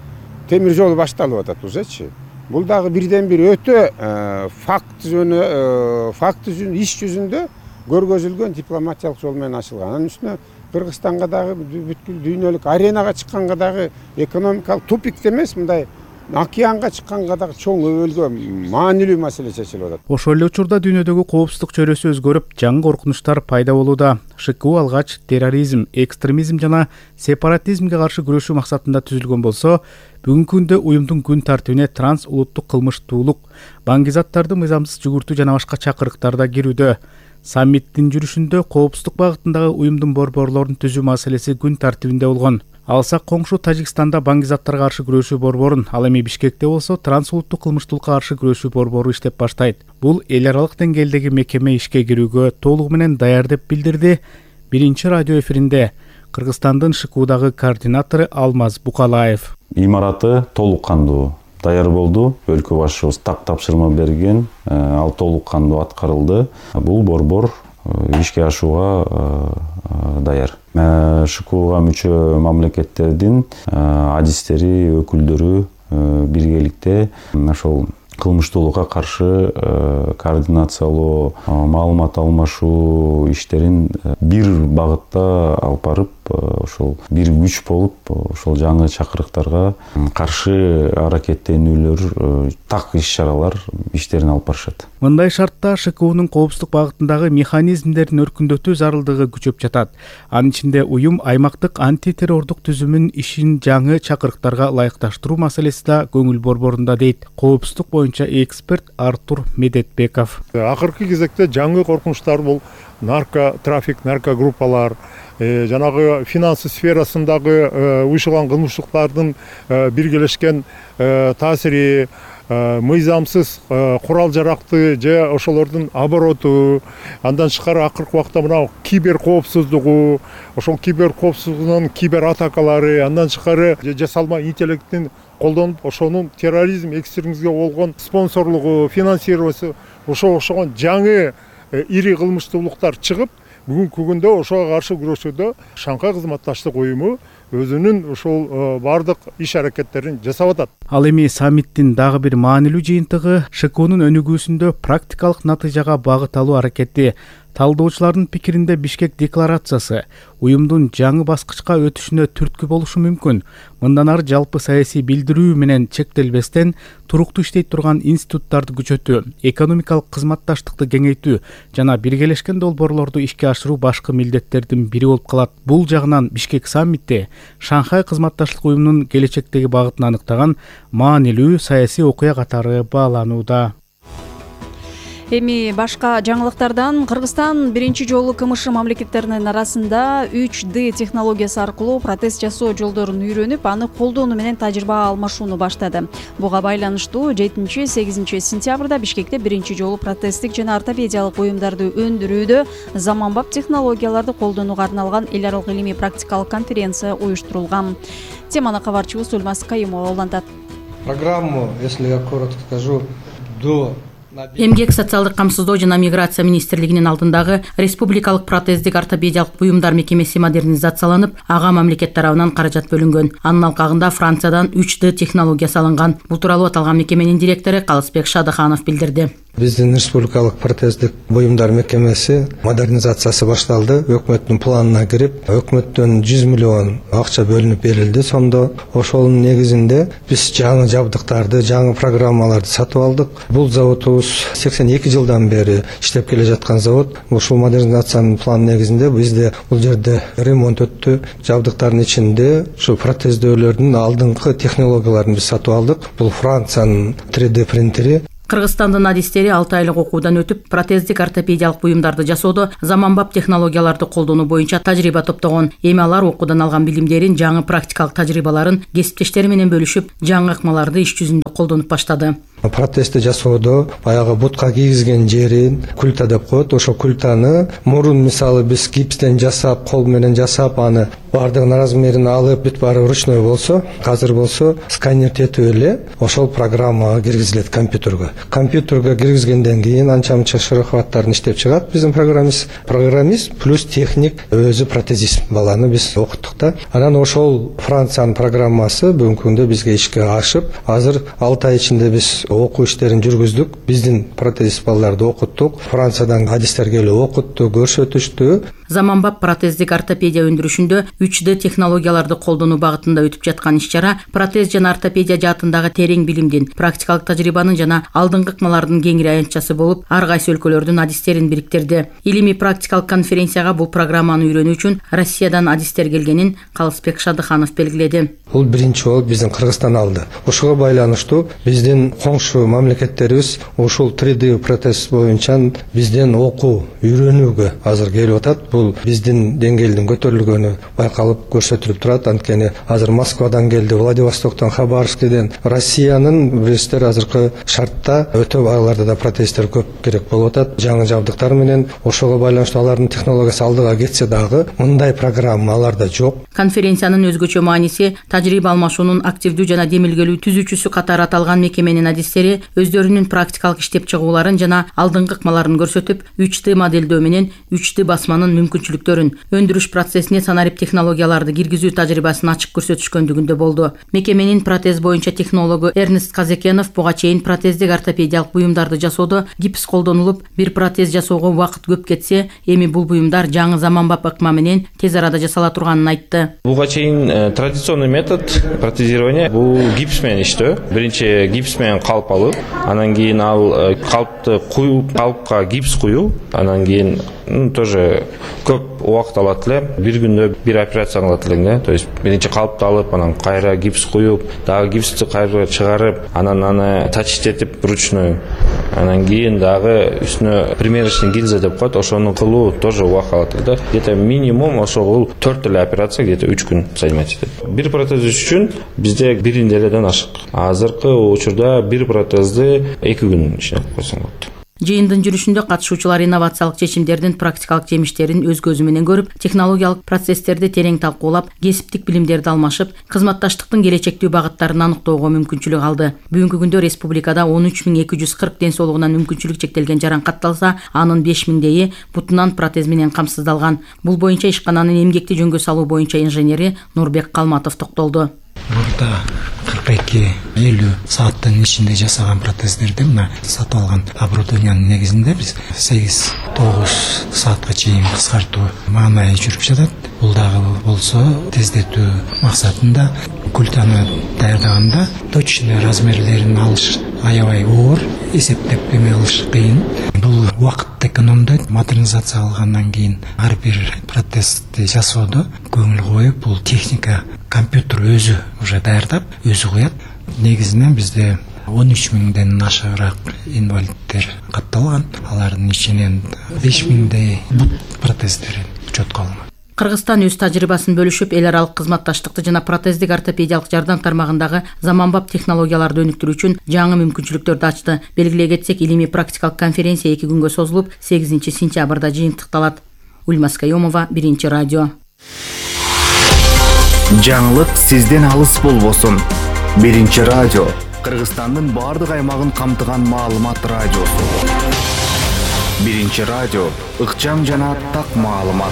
темир жолу башталып атат узечи. Бул дагы бирден бир өтө факт жөнү факт жүзүн иш жүзүндө көргөзүлгөн дипломатиялык жол менен ачылган. Анын үстүнө Кыргызстанга дагы бүткүл дүйнөлүк аренага чыкканга дагы экономикалык тупикте эмес, мындай океанга чыкканга дагы чоң өбөлгө маанилүү маселе чечилип атат. Ошол эле учурда дүйнөдөгү коопсуздук чөйрөсү өзгөрүп, жаңы коркунучтар пайда болууда. ШКУ алгач терроризм, экстремизм жана сепаратизмге каршы күрөшүү максатында түзүлгөн болсо, бүгүнкү күндө уюмдун күн тартибине транс улуттук кылмыштуулук, баңгизаттарды мыйзамсыз жүгүртүү жана башка чакырыктар да кирүүдө. Саммиттин жүрүшүндө коопсуздук багытындагы уюмдун борборлорун түзүү маселеси күн тартибинде болгон. Алсак коңшу Тажикстанда баңгизаттарга каршы күрөшүү борборун, ал эми Бишкекте болсо трансулуттук кылмыштуулукка каршы күрөшүү борбору иштеп баштайт. Бул эл аралык деңгээлдеги мекеме ишке кирүүгө толугу менен даяр деп билдирди биринчи радио эфиринде Кыргызстандын ШКУдагы координатору Алмаз Букалаев. Имараты толук кандуу даяр болду. Өлкө башчыбыз так тапшырма берген, ал толук кандуу аткарылды. Бул борбор ишке ашууга даяр. ШКУга мүчө мамлекеттердин адистери, өкүлдөрү биргеликте ошол кылмыштуулукка каршы координациялоо, маалымат алмашуу иштерин бир багытта алып барып, ошол бир күч болуп, ошол жаңы чакырыктарга каршы аракеттенүүлөр, так иш-чаралар иштерин алып барышат. Мындай шартта ШКУнун коопсуздук багытындагы механизмдерин өркүндөтүү зарылдыгы күчөп жатат. Анын ичинде уюм аймактык антитеррордук түзүмүн ишин жаңы чакырыктарга ылайыкташтыруу маселеси да көңүл борборунда дейт коопсуздук боюнча эксперт Артур Медетбеков. Акыркы кезекте жаңы коркунучтар бул нарко трафик, нарко группалар, жанагы финансы сферасындагы уюшулган кылмыштыктардын биргелешкен таасири, мыйзамсыз курал жаракты же ошолордун обороту, андан тышкары акыркы убакта мына кибер коопсуздугу, ошол кибер коопсуздугунун кибер атакалары, андан тышкары жасалма интеллекттин колдонуп, ошонун терроризм, экстремизмге болгон спонсорлугу, финансироваться, ошого окшогон жаңы ири кылмыштуулуктар чыгып, бүгүнкү күндө ошого каршы күрөшүүдө Шанхай кызматташтык уюму өзүнүн ушул бардык иш аракеттерин жасап атат. Ал эми саммиттин дагы бир маанилүү жыйынтыгы ШКУнун өнүгүүсүндө практикалык натыйжага багыт алуу аракети. Талдоочулардын пикиринде Бишкек декларациясы уюмдун жаңы баскычка өтүшүнө түрткү болушу мүмкүн. Мындан ары жалпы саясий билдирүү менен чектелбестен туруктуу иштей турган институттарды күчөтүү, экономикалык кызматташтыкты кеңейтүү жана биргелешкен долбоорлорду ишке ашыруу башкы милдеттердин бири болуп калат. Бул жагынан Бишкек саммитти Шанхай кызматташтык уюмунун келечектеги багытын аныктаган маанилүү саясий окуя катары бааланууда. Эми башка жаңылыктардан Кыргызстан биринчи жолу КМШ мамлекеттеринин арасында үч дэ технологиясы аркылуу протез жасоо жолдорун үйрөнүп, аны колдонуу менен тажрыйба алмашууну баштады. Буга байланыштуу жетинчи сегизинчи сентябрда Бишкекте биринчи жолу протездик жана ортопедиялык буюмдарды өндүрүүдө заманбап технологияларды колдонууга арналган эл аралык илимий практикалык конференция уюштурулган. Теманы кабарчыбыз Ульмас Кайымова улантат. Программу, если я коротко скажу, до эмгек социалдык камсыздоо жана миграция министрлигинин алдындагы республикалык протездик ортопедиялык буюмдар мекемеси модернизацияланып, ага мамлекет тарабынан каражат бөлүнгөн. Анын алкагында Франциядан үч дэ технологиясы алынган. Бул тууралуу аталган мекеменин директору Калысбек Шадыханов билдирди. Биздин республикалык протездик буюмдар мекемеси модернизациясы башталды. Өкмөттүн планына кирип, өкмөттөн жүз миллион акча бөлүнүп берилди. Сомдо ошонун негизинде биз жаңы жабдыктарды, жаңы программаларды сатып алдык. Бул заводубуз сексен эки жылдан бери иштеп келе жаткан завод. Ушул модернизациянын планы негизинде бизде бул жерде ремонт өттү. Жабдыктардын ичинде ушу протездөөлөрдүн алдыңкы технологияларын биз сатып алдык. Бул Франциянын три дэ принтери. Кыргызстандын адистери алты айлык окуудан өтүп, протездик ортопедиялык буюмдарды жасоодо заманбап технологияларды колдонуу боюнча тажрыйба топтогон. Эми алар окуудан алган билимдерин, жаңы практикалык тажрыйбаларын кесиптештери менен бөлүшүп, жаңы ыкмаларды иш жүзүндө колдонуп баштады. Протезди жасоодо баягы бутка кийгизген жерин культа деп коет. Ошо культаны мурун мисалы биз гипстен жасап, кол менен жасап, аны бардыгын размерин алып, бүт баары ручной болсо, азыр болсо сканер тетип эле ошол программага киргизилет компьютерге. Компьютерге киргизгенден кийин анча-мынча шарахваттарын иштеп чыгат биздин программист. Программист плюс техник өзү протезист баланы биз окуттук да. Анан ошол Франциянын программасы бүгүнкү күндө бизге ишке ашып, азыр алты ай ичинде биз окуу иштерин жүргүздүк. Биздин протезист балдарды окуттук. Франциядан адистер келип окутту, көрсөтүштү. Заманбап протездик ортопедия өндүрүшүндө үч дэ технологияларды колдонуу багытында өтүп жаткан иш-чара протез жана ортопедия жаатындагы терең билимдин, практикалык тажрыйбанын жана алдыңкы ыкмалардын кеңири аянтчасы болуп, ар кайсы өлкөлөрдүн адистерин бириктирди. Илимий практикалык конференцияга бул программаны үйрөнүү үчүн Россиядан адистер келгенин Калысбек Шадыханов белгиледи. Бул биринчи болуп биздин Кыргызстан алды. Ошого байланыштуу биздин коңшу мамлекеттерибиз ушул три дэ протез боюнча бизден окуу, үйрөнүүгө азыр келип атат. Бул биздин деңгээлдин көтөрүлгөнү байкалып көрсөтүлүп турат. Анткени азыр Москвадан келди, Владивостоктон, Хабаровскден, Россиянын билесиздер азыркы шартта өтө аларда да протездер көп керек болуп атат. Жаңы жабдыктар менен ошого байланыштуу алардын технологиясы алдыга кетсе дагы мындай программа аларда жок. Конференциянын өзгөчө мааниси тажрыйба алмашуунун активдүү жана демилгелүү түзүүчүсү катары аталган мекеменин адистери өздөрүнүн практикалык иштеп чыгууларын жана алдыңкы ыкмаларын көрсөтүп, үч дэ модельдөө менен үч дэ басманын мүмкүнчүлүктөрүн, өндүрүш процессине санарип технологияларды киргизүү тажрыйбасын ачык көрсөтүшкөндүгүндө болду. Мекеменин протез боюнча технологу Эрнест Казекенов буга чейин протездик ортопедиялык буюмдарды жасоодо гипс колдонулуп, бир протез жасоого убакыт көп кетсе, эми бул буюмдар жаңы заманбап ыкма менен тез арада жасала турганын айтты. Буга чейин традиционный метод протезирования бул гипс менен иштөө. Биринчи гипс менен калп алып, анан кийин ал калпты куюп, калпка гипс куюу, анан кийин тоже көп убакыт алат эле. Бир күндө бир операция кылат элең, то есть биринчи калпты алып, анан кайра гипс куюп, дагы гипсти кайра чыгарып, анан аны тачтетип ручной, анан кийин дагы үстүнө примерочный гильза деп коет, ошону кылуу тоже убакыт алат эле. Где-то минимум ошол төрт эле операция где-то үч күн займать этет. Бир протез үчүн бизде бир неделяден ашык. Азыркы учурда бир протезди эки күн ичинде койсоң болот. Жыйындын жүрүшүндө катышуучулар инновациялык чечимдердин практикалык жемиштерин өз көзү менен көрүп, технологиялык процесстерди терең талкуулап, кесиптик билимдерди алмашып, кызматташтыктын келечектүү багыттарын аныктоого мүмкүнчүлүк алды. Бүгүнкү күндө республикада он үч миң эки жүз кырк ден соолугунан мүмкүнчүлүк чектелген жаран катталса, анын беш миңдейи бутунан протез менен камсыздалган. Бул боюнча ишкананын эмгекти жөнгө салуу боюнча инженери Нурбек Калматов токтолду. Мурда кырк эки элүү сааттын ичинде жасаган протездерди мына сатып алган оборудованиянын негизинде биз сегиз тогуз саатка чейин кыскартуу маанайы жүрүп жатат. Бул дагы болсо тездетүү максатында культаны даярдаганда точный размерлерин алыш аябай оор, эсептеп эме алыш кыйын. Бул убакытты экономдойт. Модернизация алгандан кийин ар бир протезди жасоодо көңүл коюп, бул техника компьютер өзү уже даярдап, өзү куят. Негизинен бизде он үч миңден ашыгыраак инвалидтер катталган. Алардын ичинен беш миңдей бут протездери учетко алынган. Кыргызстан өз тажрыйбасын бөлүшүп, эл аралык кызматташтыкты жана протездик ортопедиялык жардам тармагындагы заманбап технологияларды өнүктүрүү үчүн жаңы мүмкүнчүлүктөрдү ачты. Белгилей кетсек, илимий практикалык конференция эки күнгө созулуп, сегизинчи сентябрда жыйынтыкталат. Ульмас Каюмова, Биринчи радио. Жаңылык сизден алыс болбосун. Биринчи радио Кыргызстандын бардык аймагын камтыган маалымат радиосу. Биринчи радио, ыкчам жана так маалымат.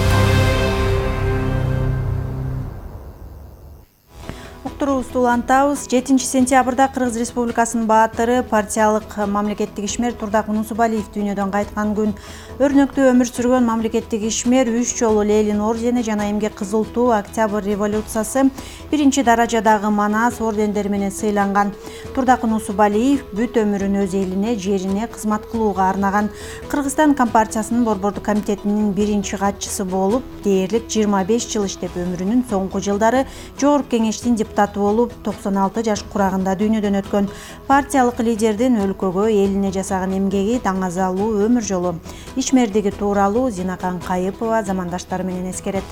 Уктуруубузду улантабыз. жетинчи сентябрда Кыргыз Республикасынын баатыры, партиялык мамлекеттик ишмер Турдак Унусубалиев дүйнөдөн кайткан күн. Өрнөктүү өмүр сүргөн мамлекеттик ишмер үч жолу Ленин ордени жана эмгек кызыл туу, Октябрь революциясы, биринчи даражадагы Манас ордендери менен сыйланган. Турдак Унусубалиев бүт өмүрүн өз элине, жерине кызмат кылууга арнаган. Кыргызстан Компартиясынын борбордук комитетинин биринчи катчысы болуп, дээрлик жыйырма беш жыл иштеп, өмүрүнүн соңку жылдары Жогорку Кеңештин депутаты болуп, токсон алты жаш курагында дүйнөдөн өткөн. Партиялык лидердин өлкөгө, элине жасаган эмгеги, даңазалуу өмүр жолу, ишмердиги тууралуу Зинакан Кайыпова замандаштары менен эскерет.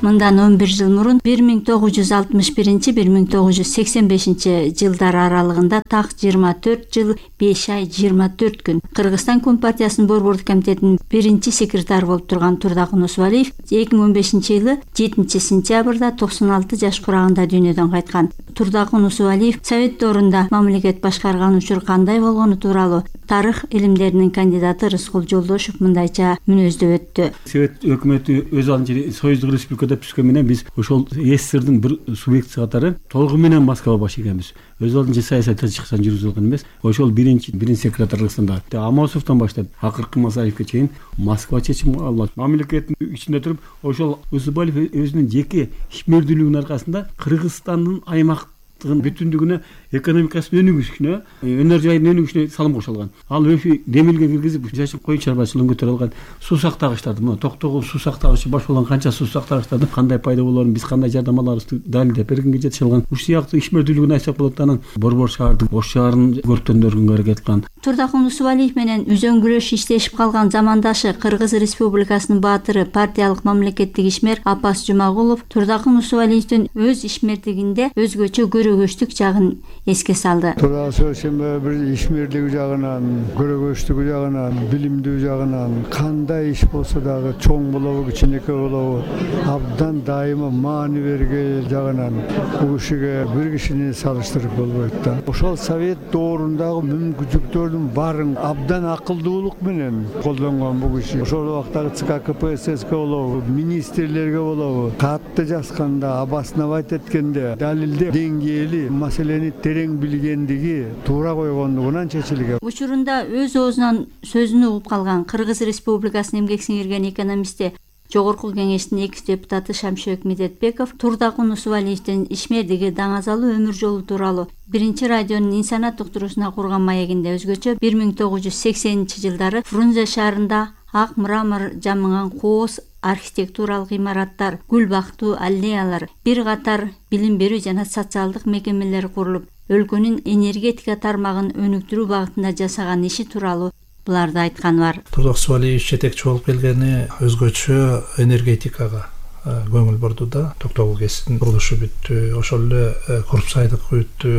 Мындан он бир жыл мурун бир миң тогуз жүз алтымыш биринчи — бир миң тогуз жүз сексен бешинчи жылдар аралыгында так жыйырма төрт жыл беш ай жыйырма төрт күн Кыргызстан Компартиясынын борбордук комитетинин биринчи секретары болуп турган Турдак Унусубалиев эки миң он бешинчи жылы жетинчи сентябрда токсон алты жаш курагында дүйнөдөн кайткан. Турдак Унусубалиев Совет доорунда мамлекет башкарган учур кандай болгону тууралуу тарых илимдеринин кандидаты Рыскул Жолдошев мындайча мүнөздөп өттү. Совет өкмөтү өз алдынча Союздук Республикада түшкөн менен биз ошол СССРдин бир субъекти катары толугу менен Москва баш экенбиз. Өз алдынча саясат чыксан жүргүзүп алган эмес. Ошол биринчи биринчи секретарлыктанда Амосовдон баштап акыркы Масаевке чейин Москва чечим алат. Мамлекеттин ичинде туруп, ошол Усубалиев өзүнүн жеке ишмердүүлүгүнүн аркасында Кыргызстандын аймак бүтүндүгүнө, экономикасынын өнүгүшүнө, өнөр жайынын өнүгүшүнө салым кошо алган. Ал өшү демилге киргизип, жашып кой чарбачылыгын көтөрө алган. Суу сактагычтарды, мына Токтогул суу сактагычы баш болгон канча суу сактагычтардын кандай пайда болоорун биз кандай жардам аларыбызды далилдеп бергенге жетише алган. Ушул сыяктуу ишмердүүлүгүн айтсак болот. Анан борбор шаардын, Ош шаарын көрктөндөргөнгө аракет кылган. Турдак Унусубалиев менен үзөңгүлөш иштешип калган замандашы Кыргыз Республикасынын баатыры, партиялык мамлекеттик ишмер Апас Жумагулов Турдак Унусубалиевдин өз ишмердигинде өзгөчө көрөгөчтүк жагын эске салды. Турдак Унусубалиев бир ишмердиги жагынан, көрөгөчтүгү жагынан, билимдүү жагынан кандай иш болсо дагы чоң болобу, кичинекей болобу, абдан дайыма маани берген жагынан бул кишиге бир кишини салыштырып болбойт да. Ошол Совет доорундагы мүмкүнчүлүктөрдүн баарын абдан акылдуулук менен колдонгон бул киши. Ошол убактагы ЦК КПСС болобу, министрлерге болобу, катты жазганда, обосновать эткенде далилдеп деңгээли маселени терең билгендиги, туура койгондугунан чечилген. Учурунда өз оозунан сөзүн угуп калган Кыргыз Республикасынын эмгек сиңирген экономисти, Жогорку Кеңештин экс депутаты Шамшөк Медетбеков Турдак Унусубалиевдин ишмердиги, даңазалуу өмүр жолу тууралуу биринчи радионун инсанат уктуруусуна курган маегинде өзгөчө бир миң тогуз жүз сексенинчи жылдары Фрунзе шаарында ак мрамор жамыган кооз архитектуралык имараттар, гүл бактуу аллеялар, бир катар билим берүү жана социалдык мекемелер курулуп, өлкөнүн энергетика тармагын өнүктүрүү багытында жасаган иши тууралуу буларды айткан бар. Турдак Унусубалиев жетекчи болуп келгени өзгөчө энергетикага көңүл бурду да. Токтогул КЭСтин курулушу бүттү, ошол эле Куруп сайдыкы бүттү,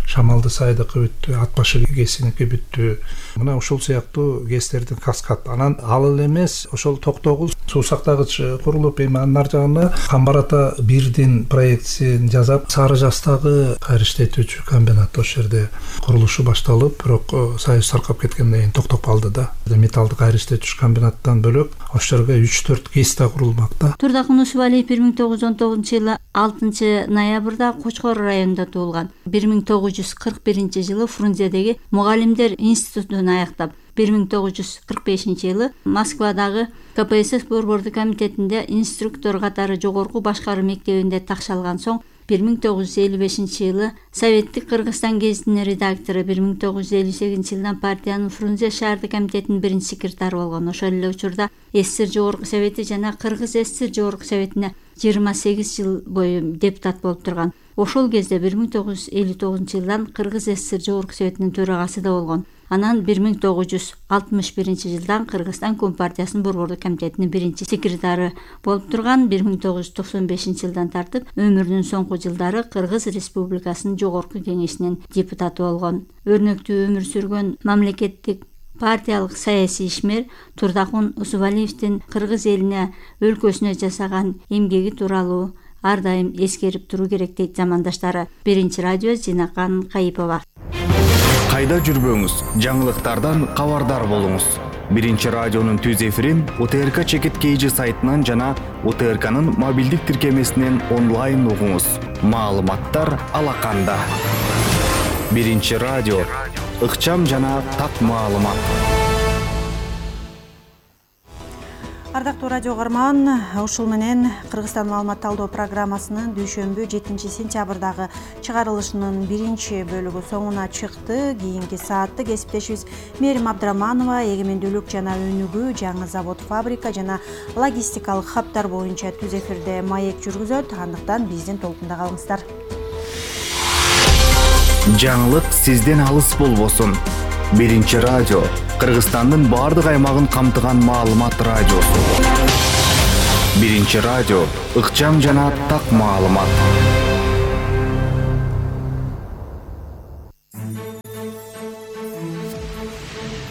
Шамалды сайдыкы бүттү, Ат башы КЭСиники бүттү. Мына ушул сыяктуу КЭСтердин каскад. Анан ал эле эмес, ошол Токтогул суу сактагыч курулуп, эми анын ар жагына Камбар ата бирдин проектисин жасап, Сары Жастагы кайра иштетүүчү комбинат ошол жерде курулушу башталып, бирок Союз таркап кеткенден кийин токтоп калды да. Металлды кайра иштетүүчү комбинаттан бөлөк ошол жерге үч төрт КЭС да курулмак да. Турдак Унусубалиев бир миң тогуз жүз он тогузунчу жылы алтынчы ноябрда Кочкор районунда туулган. бир миң тогуз жүз кырк биринчи жылы Фрунзедеги мугалимдер институтун аяктап, бир миң тогуз жүз кырк бешинчи жылы Москвадагы КПСС борбордук комитетинде инструктор катары жогорку башкаруу мектебинде такшалган соң бир миң тогуз жүз элүү бешинчи жылы Советтик Кыргызстан гезитинин редактору, бир миң тогуз жүз элүү сегизинчи жылдан партиянын Фрунзе шаардык комитетинин биринчи секретары болгон. Ошол эле учурда СССР Жогорку Совети жана Кыргыз СССР Жогорку Советине жыйырма сегиз жыл бою депутат болуп турган. Ошол кезде бир миң тогуз жүз элүү тогузунчу жылдан Кыргыз СССР Жогорку Советинин төрагасы да болгон. Анан бир миң тогуз жүз алтымыш биринчи жылдан Кыргызстан Компартиясынын борбордук комитетинин биринчи секретары болуп турган. бир миң тогуз жүз токсон бешинчи жылдан тартып өмүрүнүн соңку жылдары Кыргыз Республикасынын Жогорку Кеңешинин депутаты болгон. Өрнөктүү өмүр сүргөн мамлекеттик партиялык саясий ишмер Турдак Унусубалиевдин Кыргыз элине, өлкөсүнө жасаган эмгеги тууралуу ар дайым эскерип туруу керек дейт замандаштары. Биринчи радио Зинакан Кайыпова. кайда жүрбөңүз, жаңылыктардан кабардар болуңуз. Биринчи радионун түз эфирин У Т Р К Чекит Кейжи сайтынан жана У Т Р К'нын мобилдик тиркемесинен онлайн угуңуз. Маалыматтар алаканда. Биринчи радио, ыкчам жана так маалымат. Ардактуу радио угарман, ушул менен Кыргызстан маалымат талдоо программасынын дүйшөмбү жетинчи сентябрдагы чыгарылышынын биринчи бөлүгү соңуна чыкты. Кийинки саатты кесиптешибиз Мээрим Абдраманова эгемендүүлүк жана өнүгүү, жаңы завод, фабрика жана логистикалык хабдар боюнча түз эфирде маек жүргүзөт. Андыктан биздин толкунда калыңыздар. Жаңылык сизден алыс болбосун. Биринчи радио, Кыргызстандын бардык аймагын камтыган маалымат радиосу. Биринчи радио, ыкчам жана так маалымат.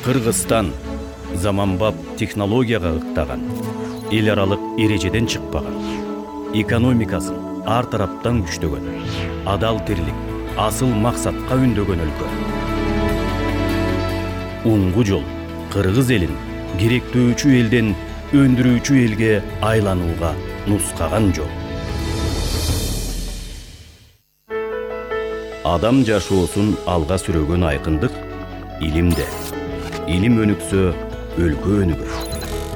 Кыргызстан заманбап технологияга ыктаган, эл аралык эрежеден чыкпаган, экономикасын ар тараптан күчтөгөн, адал тирлик, асыл максатка үндөгөн өлкө. Уңгу жол кыргыз элин керектөөчү элден өндүрүүчү элге айланууга нускаган жол. Адам жашоосун алга сүрөгөн айкындык илимде. Илим өнүксө, өлкө өнүгөр.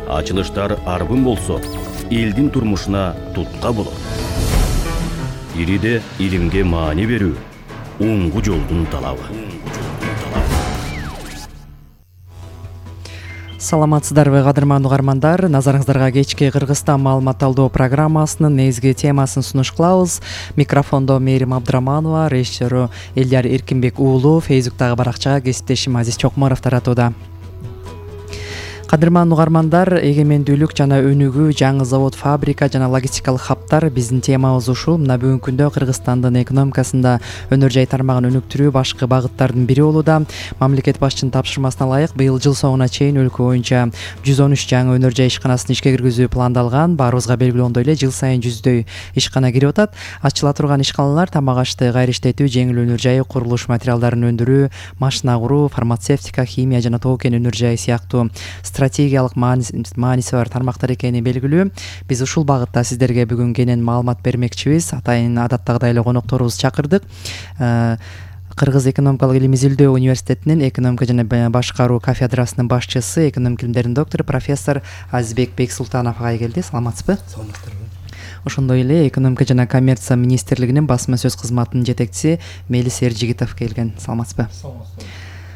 Ачылыштар арбын болсо, элдин турмушуна тутка болот. Ириде илимге маани берүү уңгу жолдун талабы. Саламатсыздарбы кадырман угармандар, назарыңыздарга кечки Кыргызстан маалымат талдоо программасынын негизги темасын сунуш кылабыз. Микрофондо Мээрим Абдраманова, режиссеру Элдияр Эркинбек уулу, Фейсбуктагы баракчага кесиптешим Азиз Чокморов таратууда. Кадырман угармандар, эгемендүүлүк жана өнүгүү, жаңы завод, фабрика жана логистикалык хабдар биздин темабыз ушул. Мына бүгүнкү күндө Кыргызстандын экономикасында өнөр жай тармагын өнүктүрүү башкы багыттардын бири болууда. Мамлекет башчынын тапшырмасына ылайык быйыл жыл соңуна чейин өлкө боюнча жүз он үч жаңы өнөр жай ишканасын ишке киргизүү пландалган. Баарыбызга белгилүү эле жыл сайын жүздөй ишкана кирип атат. Ачыла турган ишканалар тамак ашты, кайры иштетүү, жеңил өнөр жайы, курулуш материалдарын өндүрүү, машина куруу, фармацевтика, химия жана тоо кен өнөр жайы сыяктуу стратегиялык мааниси бар тармактар экени белгилүү. Биз ушул багытта сиздерге бүгүн кенен маалымат бермекчибиз. Атайын адаттагыдай эле конокторубузду чакырдык. Кыргыз экономикалык илим изилдөө университетинин экономика жана башкаруу кафедрасынын башчысы, экономика илимдеринин доктору профессор Азизбек Бексултанов ага келди. Саламатсызбы? Саламатсыздарбы. Ошондой эле экономика жана коммерция министрлигинин басма сөз кызматынын жетекчиси Мелис Эржигитов келген. Саламатсызбы? Саламатсыздар.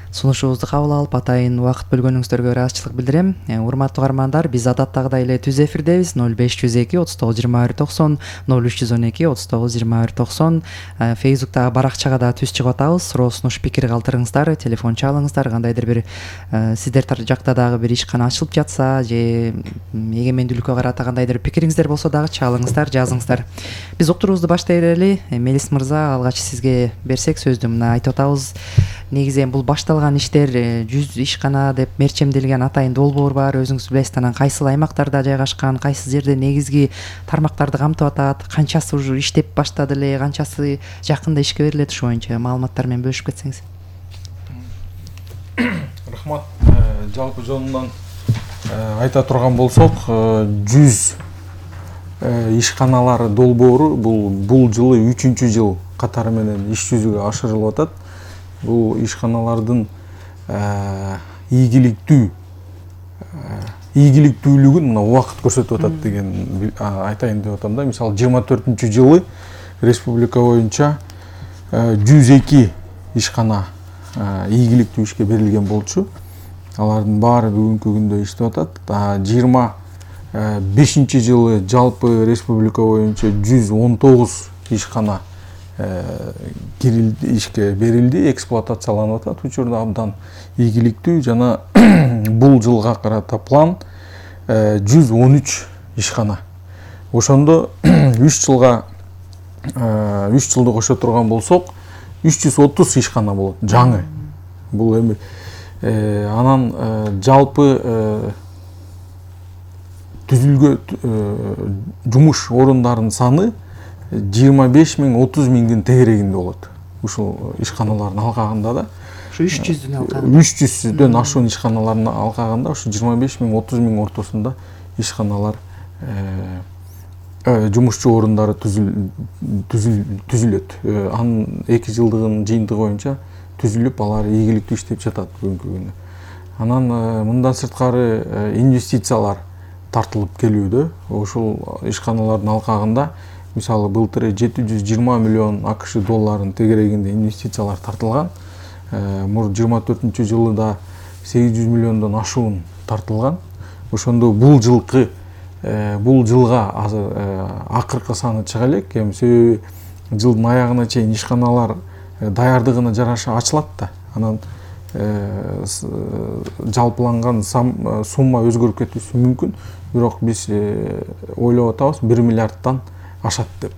Сунушубузду кабыл алып, атайын убакыт бөлгөнүңүздөргө ыраазычылык билдирем. Урматтуу угармандар, биз адаттагыдай эле түз эфирдебиз. ноль беш жүз эки отуз тогуз жыйырма бир токсон, ноль үч жүз он эки отуз тогуз жыйырма бир токсон. Фейсбуктагы баракчага да түз чыгып атабыз. Суроо сунуш пикир калтырыңыздар, телефон чалыңыздар. Кандайдыр бир сиздер жакта дагы бир ишкана ачылып жатса же эгемендүүлүккө карата кандайдыр пикириңиздер болсо дагы чалыңыздар, жазыңыздар. Биз уктуруубузду баштай берели. Мелис мырза, алгач сизге берсек сөздү. Мына айтып атабыз, негизи бул башталган иштер жүз ишкана деп мерчемделген атайын долбоор бар. Өзүңүз билесиз, анан кайсыл аймактарда жайгашкан, кайсы жерде негизги тармактарды камтып атат, канчасы уже иштеп баштады эле, канчасы жакында ишке берилет, ошо боюнча маалыматтар менен бөлүшүп кетсеңиз. Рахмат. Жалпы жонунан айта турган болсок, жүз ишканалар долбоору бул бул жылы үчүнчү жыл катары менен иш жүзүгө ашырылып атат. Бул ишканалардын ийгиликтүү ийгиликтүүлүгүн мына убакыт көрсөтүп атат деген айтайын деп атам да. Мисалы жыйырма төртүнчү жылы республика боюнча жүз эки ишкана ийгиликтүү ишке берилген болчу. Алардын баары бүгүнкү күндө иштеп атат. жыйырма бешинчи жылы жалпы республика боюнча жүз он тогуз ишкана кирилди, ишке берилди, эксплуатацияланып атат. Учурда абдан ийгиликтүү жана бул жылга карата план жүз он үч ишкана. Ошондо үч жылга үч жылды кошо турган болсок, үч жүз отуз ишкана болот, жаңы. Бул эми анан жалпы түзүлгөн жумуш орундарынын саны жыйырма беш миң отуз миңдин тегерегинде болот. Ушул ишканалардын алкагында да. ушу үч жүздүн алкагында үч жүздөн ашуун ишканалардын алкагында ушу жыйырма беш миң отуз миң ортосунда ишканалар жумушчу орундары түзүлөт. Анын эки жылдыгынын жыйынтыгы боюнча түзүлүп, алар ийгиликтүү иштеп жатат бүгүнкү күнү. Анан мындан сырткары инвестициялар тартылып келүүдө. Ошол ишканалардын алкагында мисалы былтыр жети жүз жыйырма миллион АКШ долларын тегерегинде инвестициялар тартылган. Мур жыйырма төртүнчү жылы да сегиз жүз миллиондон ашуун тартылган. Ошондо бул жылкы бул жылга азыр акыркы саны чыга элек. Эми себеби жылдын аягына чейин ишканалар даярдыгына жараша ачылат да. Анан жалпыланган сумма өзгөрүп кетиши мүмкүн. Бирок биз ойлоп атабыз бир миллиардтан ашат деп.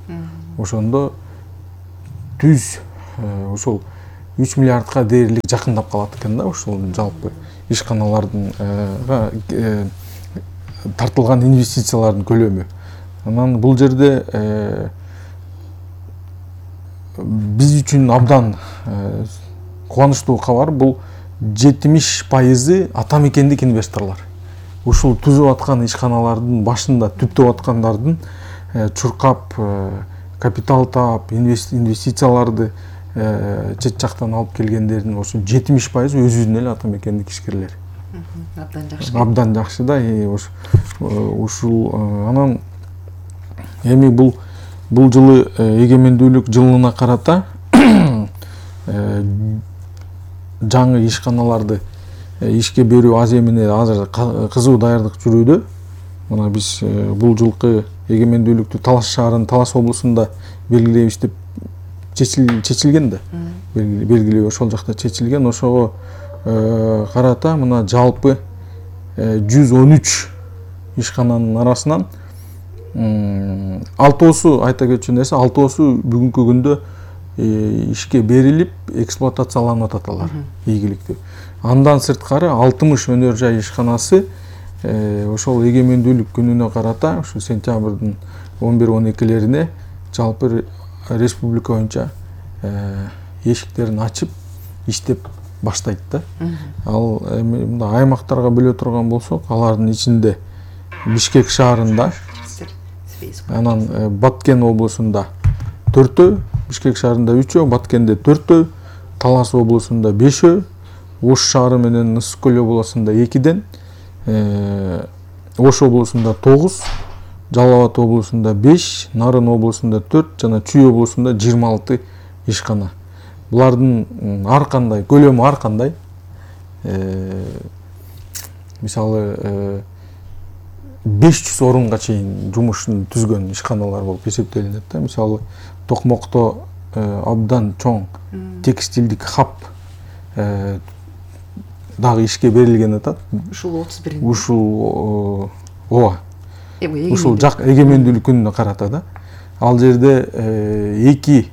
Ошондо түз ошол үч миллиардка дээрлик жакындап калат экен да, ошол жалпы ишканалардын тартылган инвестициялардын көлөмү. Анан бул жерде биз үчүн абдан кубанычтуу кабар, бул жетимиш пайызы ата мекендик инвесторлор. Ушул түзүп аткан ишканалардын башында түптөп аткандардын чуркап, капитал таап, инвестицияларды чет жактан алып келгендердин ошо жетимиш пайызы өзүнүн эле ата мекендик ишкерлер. Абдан жакшы. Абдан жакшы да. Ушул анан эми бул бул жылы эгемендүүлүк жылына карата жаңы ишканаларды ишке берүү аземине азыр кызуу даярдык жүрүүдө. Мына биз бул жылкы эгемендүүлүктү Талас шаарынын Талас облусунда белгилейбиз деп чечилген да. Белгилөө ошол жакта чечилген. Ошого карата мына жалпы жүз он үч ишкананын арасынан алтоосу, айта кетчү нерсе, алтоосу бүгүнкү күндө ишке берилип эксплуатацияланып атат алар ийгиликтүү. Андан сырткары алтымыш өнөр жай ишканасы ошол эгемендүүлүк күнүнө карата ушу сентябрдын он бир он экилерине жалпы республика боюнча эшиктерин ачып иштеп баштайт да. Ал эми мындай аймактарга бөлө турган болсок, алардын ичинде Бишкек шаарында, анан Баткен облусунда төртөө, Бишкек шаарында үчөө, Баткенде төртөө, Талас облусунда бешөө, Ош шаары менен Ысык-Көл облусунда экиден, Ош облусунда тогуз, Жалал Абад облусунда беш, Нарын облусунда төрт жана Чүй облусунда жыйырма алты ишкана. Булардын ар кандай, көлөмү ар кандай. Мисалы беш жүз орунга чейин жумушун түзгөн ишканалар болуп эсептелинет да. Мисалы Токмокто абдан чоң текстилдик хаб дагы ишке берилген атат. Ушул отуз биринчи. Ушул ооба. Ушул жак эгемендүүлүк күнүнө карата да. Ал жерде эки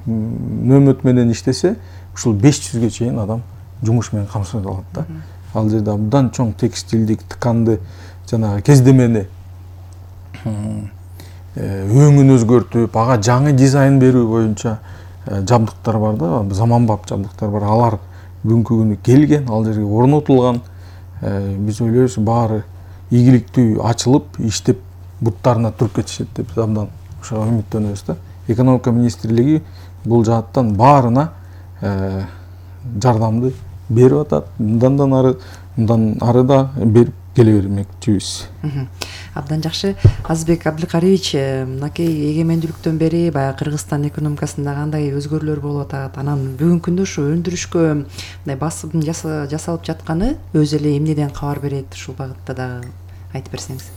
нөмөт менен иштесе, ушул беш жүзгө чейин адам жумуш менен камсыздалат да. Ал жерде абдан чоң текстилдик, тканды, жана кездемени өңүн өзгөртүп, ага жаңы дизайн берүү боюнча жабдыктар бар да, заманбап жабдыктар бар. Алар бүгүнкү күнү келген, ал жерге орнотулган. Биз ойлойбуз, баары ийгиликтүү ачылып, иштеп буттарына туруп кетишет деп абдан ошого үмүттөнөбүз да. Экономика министрлиги бул жааттан баарына жардамды берип атат. Мындан ары, мындан ары да берип келе бермекчибиз. Абдан жакшы. Азбек Абдыкариевич, мынакей эгемендүүлүктөн бери баягы Кыргызстан экономикасында кандай өзгөрүүлөр болуп атат? Анан бүгүнкү күндө ушу өндүрүшкө мындай басым жасалып жатканы өзү эле эмнеден кабар берет? Ушул багытта дагы айтып берсеңиз.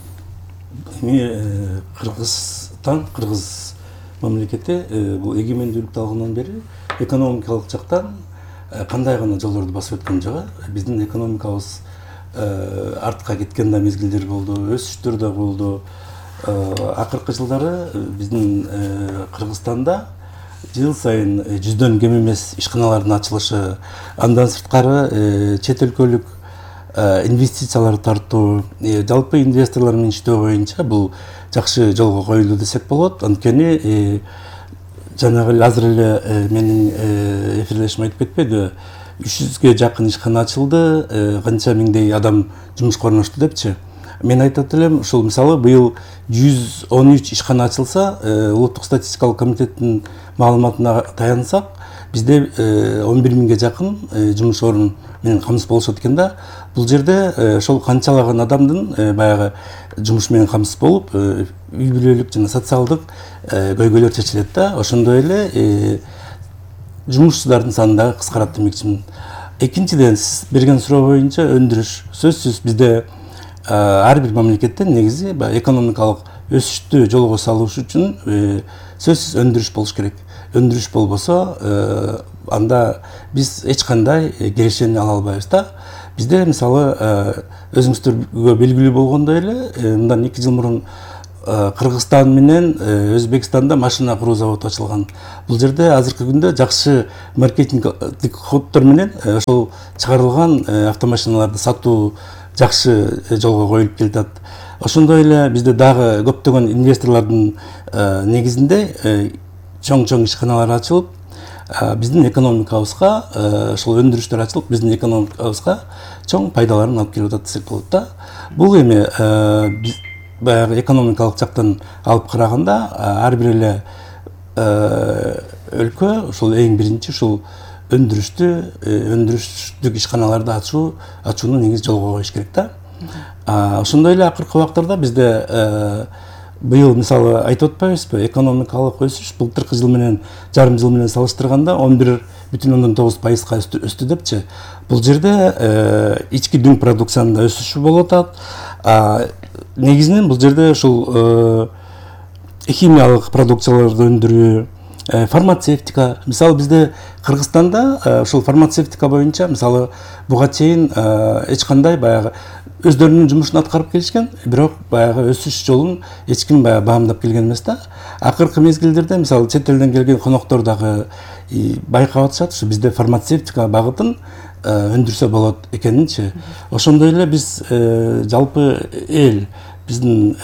Эми Кыргызстан, Кыргыз мамлекети бул эгемендүүлүктү алгандан бери экономикалык жактан кандай гана жолдорду басып өткөн жагы, биздин экономикабыз артка кеткен да мезгилдер болду, өсүштөр да болду. Акыркы жылдары биздин Кыргызстанда жыл сайын жүздөн кем эмес ишканалардын ачылышы, андан сырткары чет өлкөлүк инвестициялар тартуу, жалпы инвесторлор менен иштөө боюнча бул жакшы жолго коюлду десек болот. Анткени жанагы азыр эле менин эфирлешим айтып кетпеди, үч жүзгө жакын ишкана ачылды, канча миңдей адам жумушка орношту депчи. Мен айтат элем, ушул мисалы быйыл жүз он үч ишкана ачылса, улуттук статистикалык комитеттин маалыматына таянсак, бизде он бир миңге жакын жумуш орун менен камсыз болушат экен да. Бул жерде ошол канчалаган адамдын баягы жумуш менен камсыз болуп, үй бүлөлүк жана социалдык көйгөйлөр чечилет да. Ошондой эле жумушчулардын саны дагы кыскарат демекчимин. Экинчиден, сиз берген суроо боюнча өндүрүш. Сөзсүз бизде ар бир мамлекеттен негизи экономикалык өсүштү жолго салыш үчүн сөзсүз өндүрүш болуш керек. Өндүрүш болбосо, анда биз эч кандай келишимди ала албайбыз да. Бизде мисалы өзүңүздөргө белгилүү болгондой эле, мындан эки жыл мурун Кыргызстан менен Өзбекстанда машина куруу заводу ачылган. Бул жерде азыркы күндө жакшы маркетингдик ходдор менен ошол чыгарылган автомашиналарды сатуу жакшы жолго коюлуп келатат. Ошондой эле бизде дагы көптөгөн инвесторлордун негизинде чоң-чоң ишканалар ачылып, биздин экономикабызга, ошол өндүрүштөр ачылып, биздин экономикабызга чоң пайдаларын алып келип атат десек болот да. Бул эми баягы экономикалык жактан алып караганда ар бир эле өлкө ушул эң биринчи ушул өндүрүштү, өндүрүштүк ишканаларды ачуу, ачууну негизи жолго коюш керек да. Ошондой эле акыркы убактарда бизде быйыл мисалы айтып атпайбызбы, экономикалык өсүш былтыркы жыл менен, жарым жыл менен салыштырганда он бир бүтүн ондон тогуз пайызга өстү депчи. Бул жерде ички дүң продукциянын өсүшү болуп атат. Негизинен бул жерде ушул химиялык продукцияларды өндүрүү, фармацевтика. Мисалы бизде Кыргызстанда ушул фармацевтика боюнча мисалы буга чейин эч кандай баягы өздөрүнүн жумушун аткарып келишкен, бирок баягы өсүш жолун эч ким баягы баамдап келген эмес да. Акыркы мезгилдерде мисалы чет элден келген коноктор дагы байкап атышат, ушу бизде фармацевтика багытын өндүрсө болот экенинчи. Ошондой эле биз жалпы эл биздин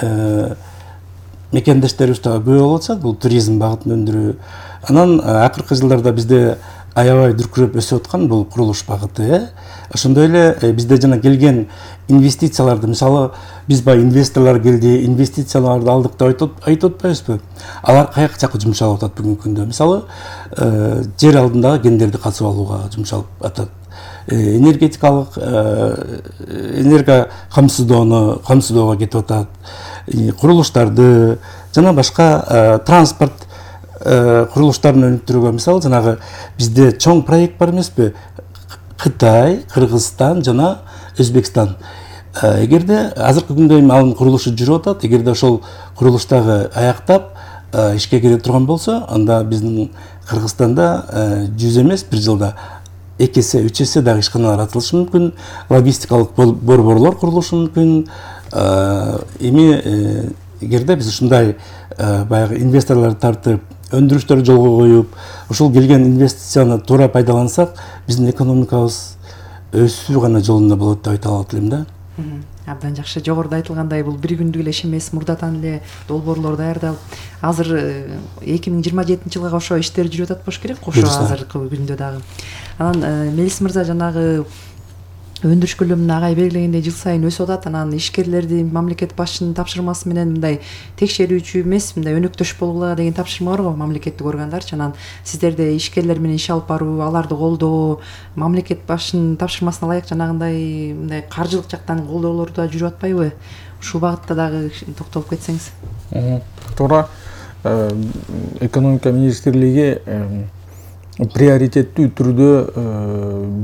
мекендештерибиз дагы көп болуп атышат, бул туризм багытын өндүрүү. Анан акыркы жылдарда бизде аябай дүркүрөп өсүп аткан бул курулуш багыты. Ошондой эле бизде жана келген инвестицияларды, мисалы биз бай инвесторлор келди, инвестицияларды алдык деп айтып атпайбызбы? Алар каяка жакка жумшалып атат бүгүнкү күндө? Мисалы жер алдындагы кендерди катып алууга жумшалып атат. Энергетикалык энерго камсыздоону камсыздоого кетип атат. Курулуштарды жана башка транспорт курулуштарын өнүктүрүүгө, мисалы жанагы бизде чоң проект бар эмеспи? Кытай, Кыргызстан жана Өзбекстан. Эгерде азыркы күндө эми анын курулушу жүрүп атат, эгерде ошол курулуштагы аяктап ишке кире турган болсо, анда биздин Кыргызстанда жүз эмес бир жылда эки эсе, үч эсе дагы ишканалар ачылышы мүмкүн, логистикалык борборлор курулушу мүмкүн. Эми эгерде биз ушундай баягы инвесторлорду тартып, өндүрүштөрдү жолго коюп, ушул келген инвестицияны туура пайдалансак, биздин экономикабыз өсүү гана жолунда болот деп айта алат элем да. Абдан жакшы. Жогоруда айтылгандай, бул бир күндүк эле иш эмес, мурдатан эле долбоорлор даярдалып, азыр эки миң жыйырма жетинчи жылга ошо иштер жүрүп атат болуш керек, ошо азыркы күндө дагы. Анан Мелис мырза жанагы өндүрүш көлөмүн агай белгилегендей жыл сайын өсүп атат. Анан ишкерлерди мамлекет башчынын тапшырмасы менен мындай текшерүүчү эмес, мындай өнөктөш болгула деген тапшырма бар го мамлекеттик органдарчы. Анан сиздерде ишкерлер менен иш алып баруу, аларды колдоо, мамлекет башчынын тапшырмасына ылайык жанагындай мындай каржылык жактан колдоолор да жүрүп атпайбы? Ушул багытта дагы токтолуп кетсеңиз. Туура. Экономика министрлиги приоритеттүү түрдө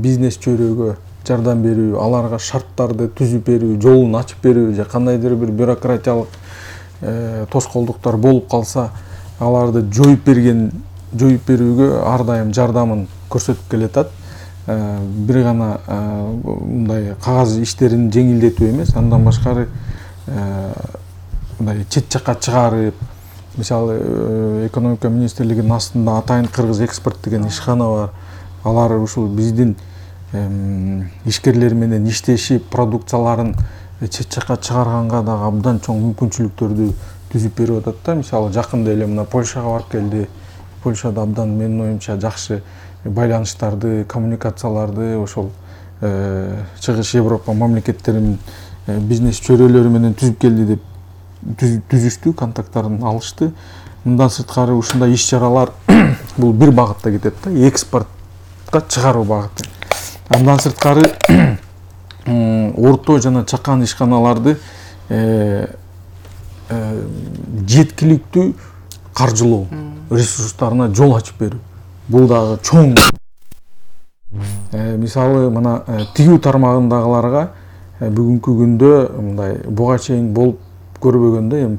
бизнес чөйрөгө жардам берүү, аларга шарттарды түзүп берүү, жолун ачып берүү же кандайдыр бир бюрократиялык тоскоолдуктар болуп калса, аларды жоюп берген, жоюп берүүгө ар дайым жардамын көрсөтүп келатат. Бир гана мындай кагаз иштерин жеңилдетүү эмес, андан башкары мындай чет жакка чыгарып, мисалы экономика министрлигинин астында Атайын Кыргыз экспорт деген ишкана бар. Алар ушул биздин ишкерлер менен иштешип, продукцияларын чет жакка чыгарганга дагы абдан чоң мүмкүнчүлүктөрдү түзүп берип атат да. Мисалы жакында эле мына Польшага барып келди, Польшада абдан менин оюмча жакшы байланыштарды, коммуникацияларды ошол чыгыш Европа мамлекеттеринин бизнес чөйрөлөрү менен түзүп келди деп түзүштү, контакттарын алышты. Мындан сырткары ушундай иш-чаралар бул бир багытта кетет да, экспортко чыгаруу багыты. Андан сырткары орто жана чакан ишканаларды жеткиликтүү каржылоо ресурстарына жол ачып берүү. Бул дагы чоң. Мисалы, мына тигүү тармагындагыларга бүгүнкү күндө мындай буга чейин болуп көрбөгөндө эми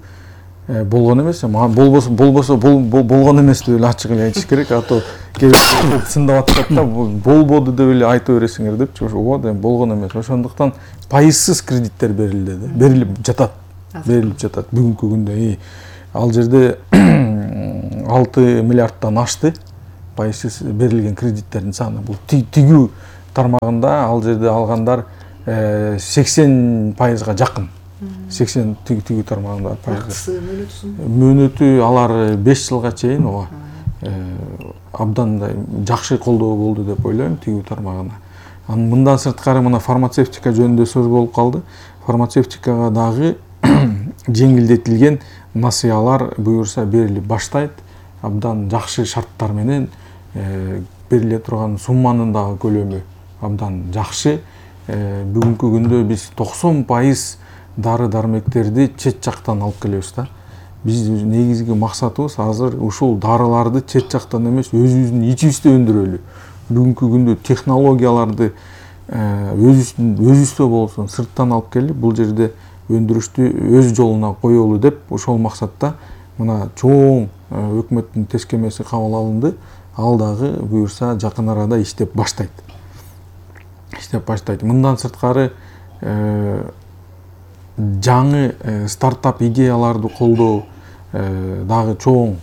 болгон эмес, болбосо болбосо болгон эмес деп эле ачык эле айтыш керек, а то кээ сындап атышат да, болбоду деп эле айта бересиңер депчи. Ошо эми болгон эмес. Ошондуктан пайызсыз кредиттер берилди, берилип жатат. Берилип жатат бүгүнкү күндө. Ал жерде алты миллиардтан ашты пайызсыз берилген кредиттердин саны. Бул тигүү тармагында ал жерде алгандар сексен пайызга жакын. сексен тигүү тармагында пайызга. Мөөнөтү алар беш жылга чейин ооба абдан жакшы колдоо болду деп ойлойм тигүү тармагына. Анын мындан сырткары мына фармацевтика жөнүндө сөз болуп калды. Фармацевтикага дагы жеңилдетилген насыялар буюрса берилип баштайт. Абдан жакшы шарттар менен бериле турган сумманын дагы көлөмү абдан жакшы. Бүгүнкү күндө биз токсон пайыз дары дармектерди чет жактан алып келебиз да. Биз негизги максатыбыз азыр ушул дарыларды чет жактан эмес, өзүбүздүн ичибизде өндүрөлү. Бүгүнкү күндө технологияларды өзүбүздүн өзүбүздө болсун сырттан алып келип, бул жерде өндүрүштү өз жолуна коелу деп ошол максатта мына чоң өкмөттүн тескемеси кабыл алынды. Ал дагы буюрса жакын арада иштеп баштайт. Иштеп баштайт. Мындан сырткары жаңы стартап идеяларды колдоо дагы чоң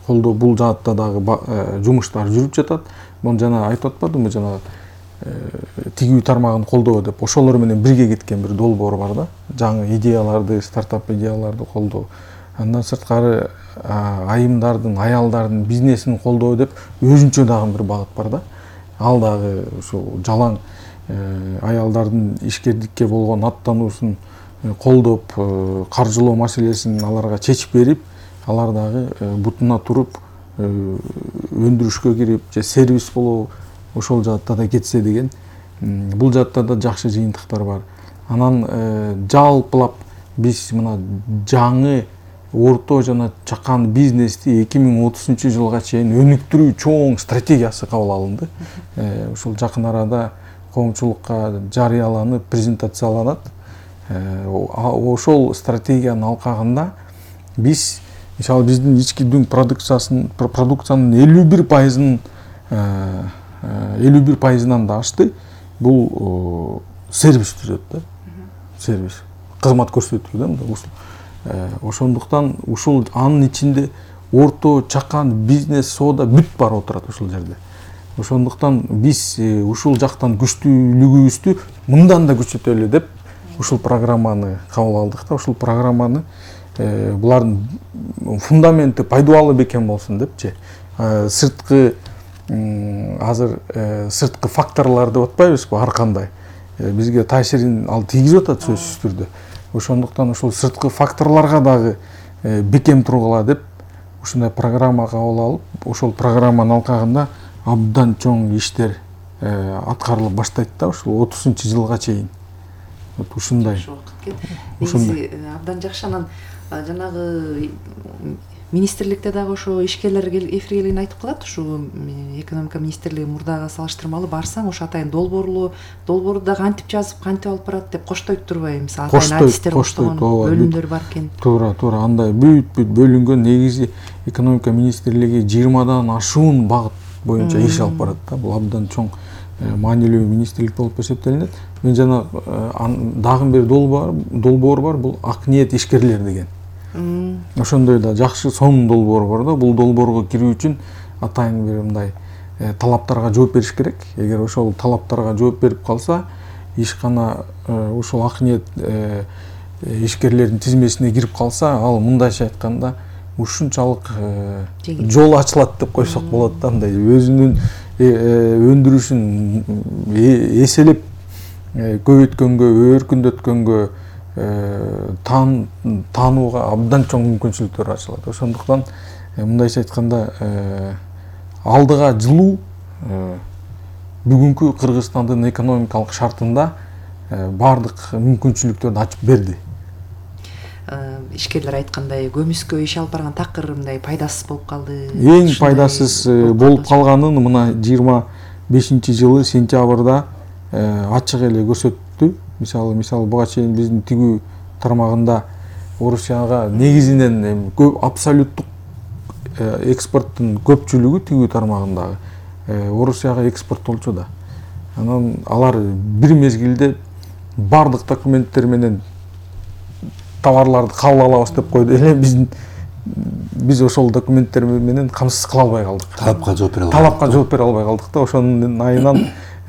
колдоо, бул жаатта дагы жумуштар жүрүп жатат. Муну жана айтып атпадымбы, жана тигүү тармагын колдоо деп ошолор менен бирге кеткен бир долбоор бар да. Жаңы идеяларды, стартап идеяларды колдоо. Андан сырткары айымдардын, аялдардын бизнесин колдоо деп өзүнчө дагы бир багыт бар да. Ал дагы ушул жалаң аялдардын ишкердикке болгон аттануусун колдоп, каржылоо маселесин аларга чечип берип, алар дагы бутуна туруп өндүрүшкө кирип, же сервис болобу ошол жаатта да кетсе деген. Бул жаатта да жакшы жыйынтыктар бар. Анан жалпылап биз мына жаңы орто жана чакан бизнести эки миң отузунчу жылга чейин өнүктүрүү чоң стратегиясы кабыл алынды. Ушул жакын арада коомчулукка жарыяланып, презентацияланат. Ошол стратегиянын алкагында биз мисалы биздин ички дүң продукциясын продукциянын элүү бир пайызын элүү бир пайызынан да ашты. Бул сервис түзөт да. Сервис. Кызмат көрсөтүү да мындай ушул. Ошондуктан ушул анын ичинде орто, чакан, бизнес, соода бүт бар отурат ушул жерде. Ошондуктан биз ушул жактан күчтүүлүгүбүздү мындан да күчөтөлү деп ушул программаны кабыл алдык да. Ушул программаны булардын фундаменти пайдалуу бекем болсун депчи. Сырткы азыр сырткы факторлор деп атпайбызбы, ар кандай бизге таасирин ал тийгизип атат сөзсүз түрдө. Ошондуктан ушул сырткы факторлорго дагы бекем тургула деп ушундай программа кабыл алып, ошол программанын алкагында абдан чоң иштер аткарылып баштайт да ушул отузунчу жылга чейин. Ушундай. Негизи абдан жакшы. Анан жанагы министрликте дагы ошо ишкерлер эфирге келгенде айтып калат, ушу экономика министрлиги мурдага салыштырмалуу барсаң ошо атайын долбоорлуу, долбоорду дагы кантип жазып, кантип алып барат деп коштойт турбайбы? Мисалы атайын адистер коштогон бөлүмдөр бар экен. Туура, туура, андай бүт-бүт бөлүнгөн. Негизи экономика министрлиги жыйырмадан ашуун багыт боюнча иш алып барат да. Бул абдан чоң маанилүү министрлик болуп эсептелинет. Мен жана дагы бир долбоор бар, бул ак ниет ишкерлер деген. Ошондой да жакшы сонун долбоор бар да. Бул долбоорго кирүү үчүн атайын бир мындай талаптарга жооп бериш керек. Эгер ошол талаптарга жооп берип калса, ишкана ушул ак ниет ишкерлердин тизмесине кирип калса, ал мындайча айтканда ушунчалык жол ачылат деп койсок болот да, мындай өзүнүн өндүрүшүн эселеп көбөйткөнгө, өркүндөткөнгө, таанууга абдан чоң мүмкүнчүлүктөр ачылат. Ошондуктан мындайча айтканда алдыга жылуу бүгүнкү Кыргызстандын экономикалык шартында баардык мүмкүнчүлүктөрдү ачып берди. Ишкерлер айткандай көмүскө иш алып барган такыр мындай пайдасыз болуп калды. Эң пайдасыз болуп калганын мына жыйырма бешинчи жылы сентябрда ачык эле көрсөттү. Мисалы, мисалы буга чейин биздин тигүү тармагында Орусияга негизинен көп абсолюттук экспорттун көпчүлүгү тигүү тармагындагы Орусияга экспорттолчу да. Анан алар бир мезгилде бардык документтер менен товарларды кабыл алабыз деп койду эле, биздин биз ошол документтер менен камсыз кыла албай калдык. Талапка жооп бере албай. Талапка жооп бере албай калдык да, ошонун айынан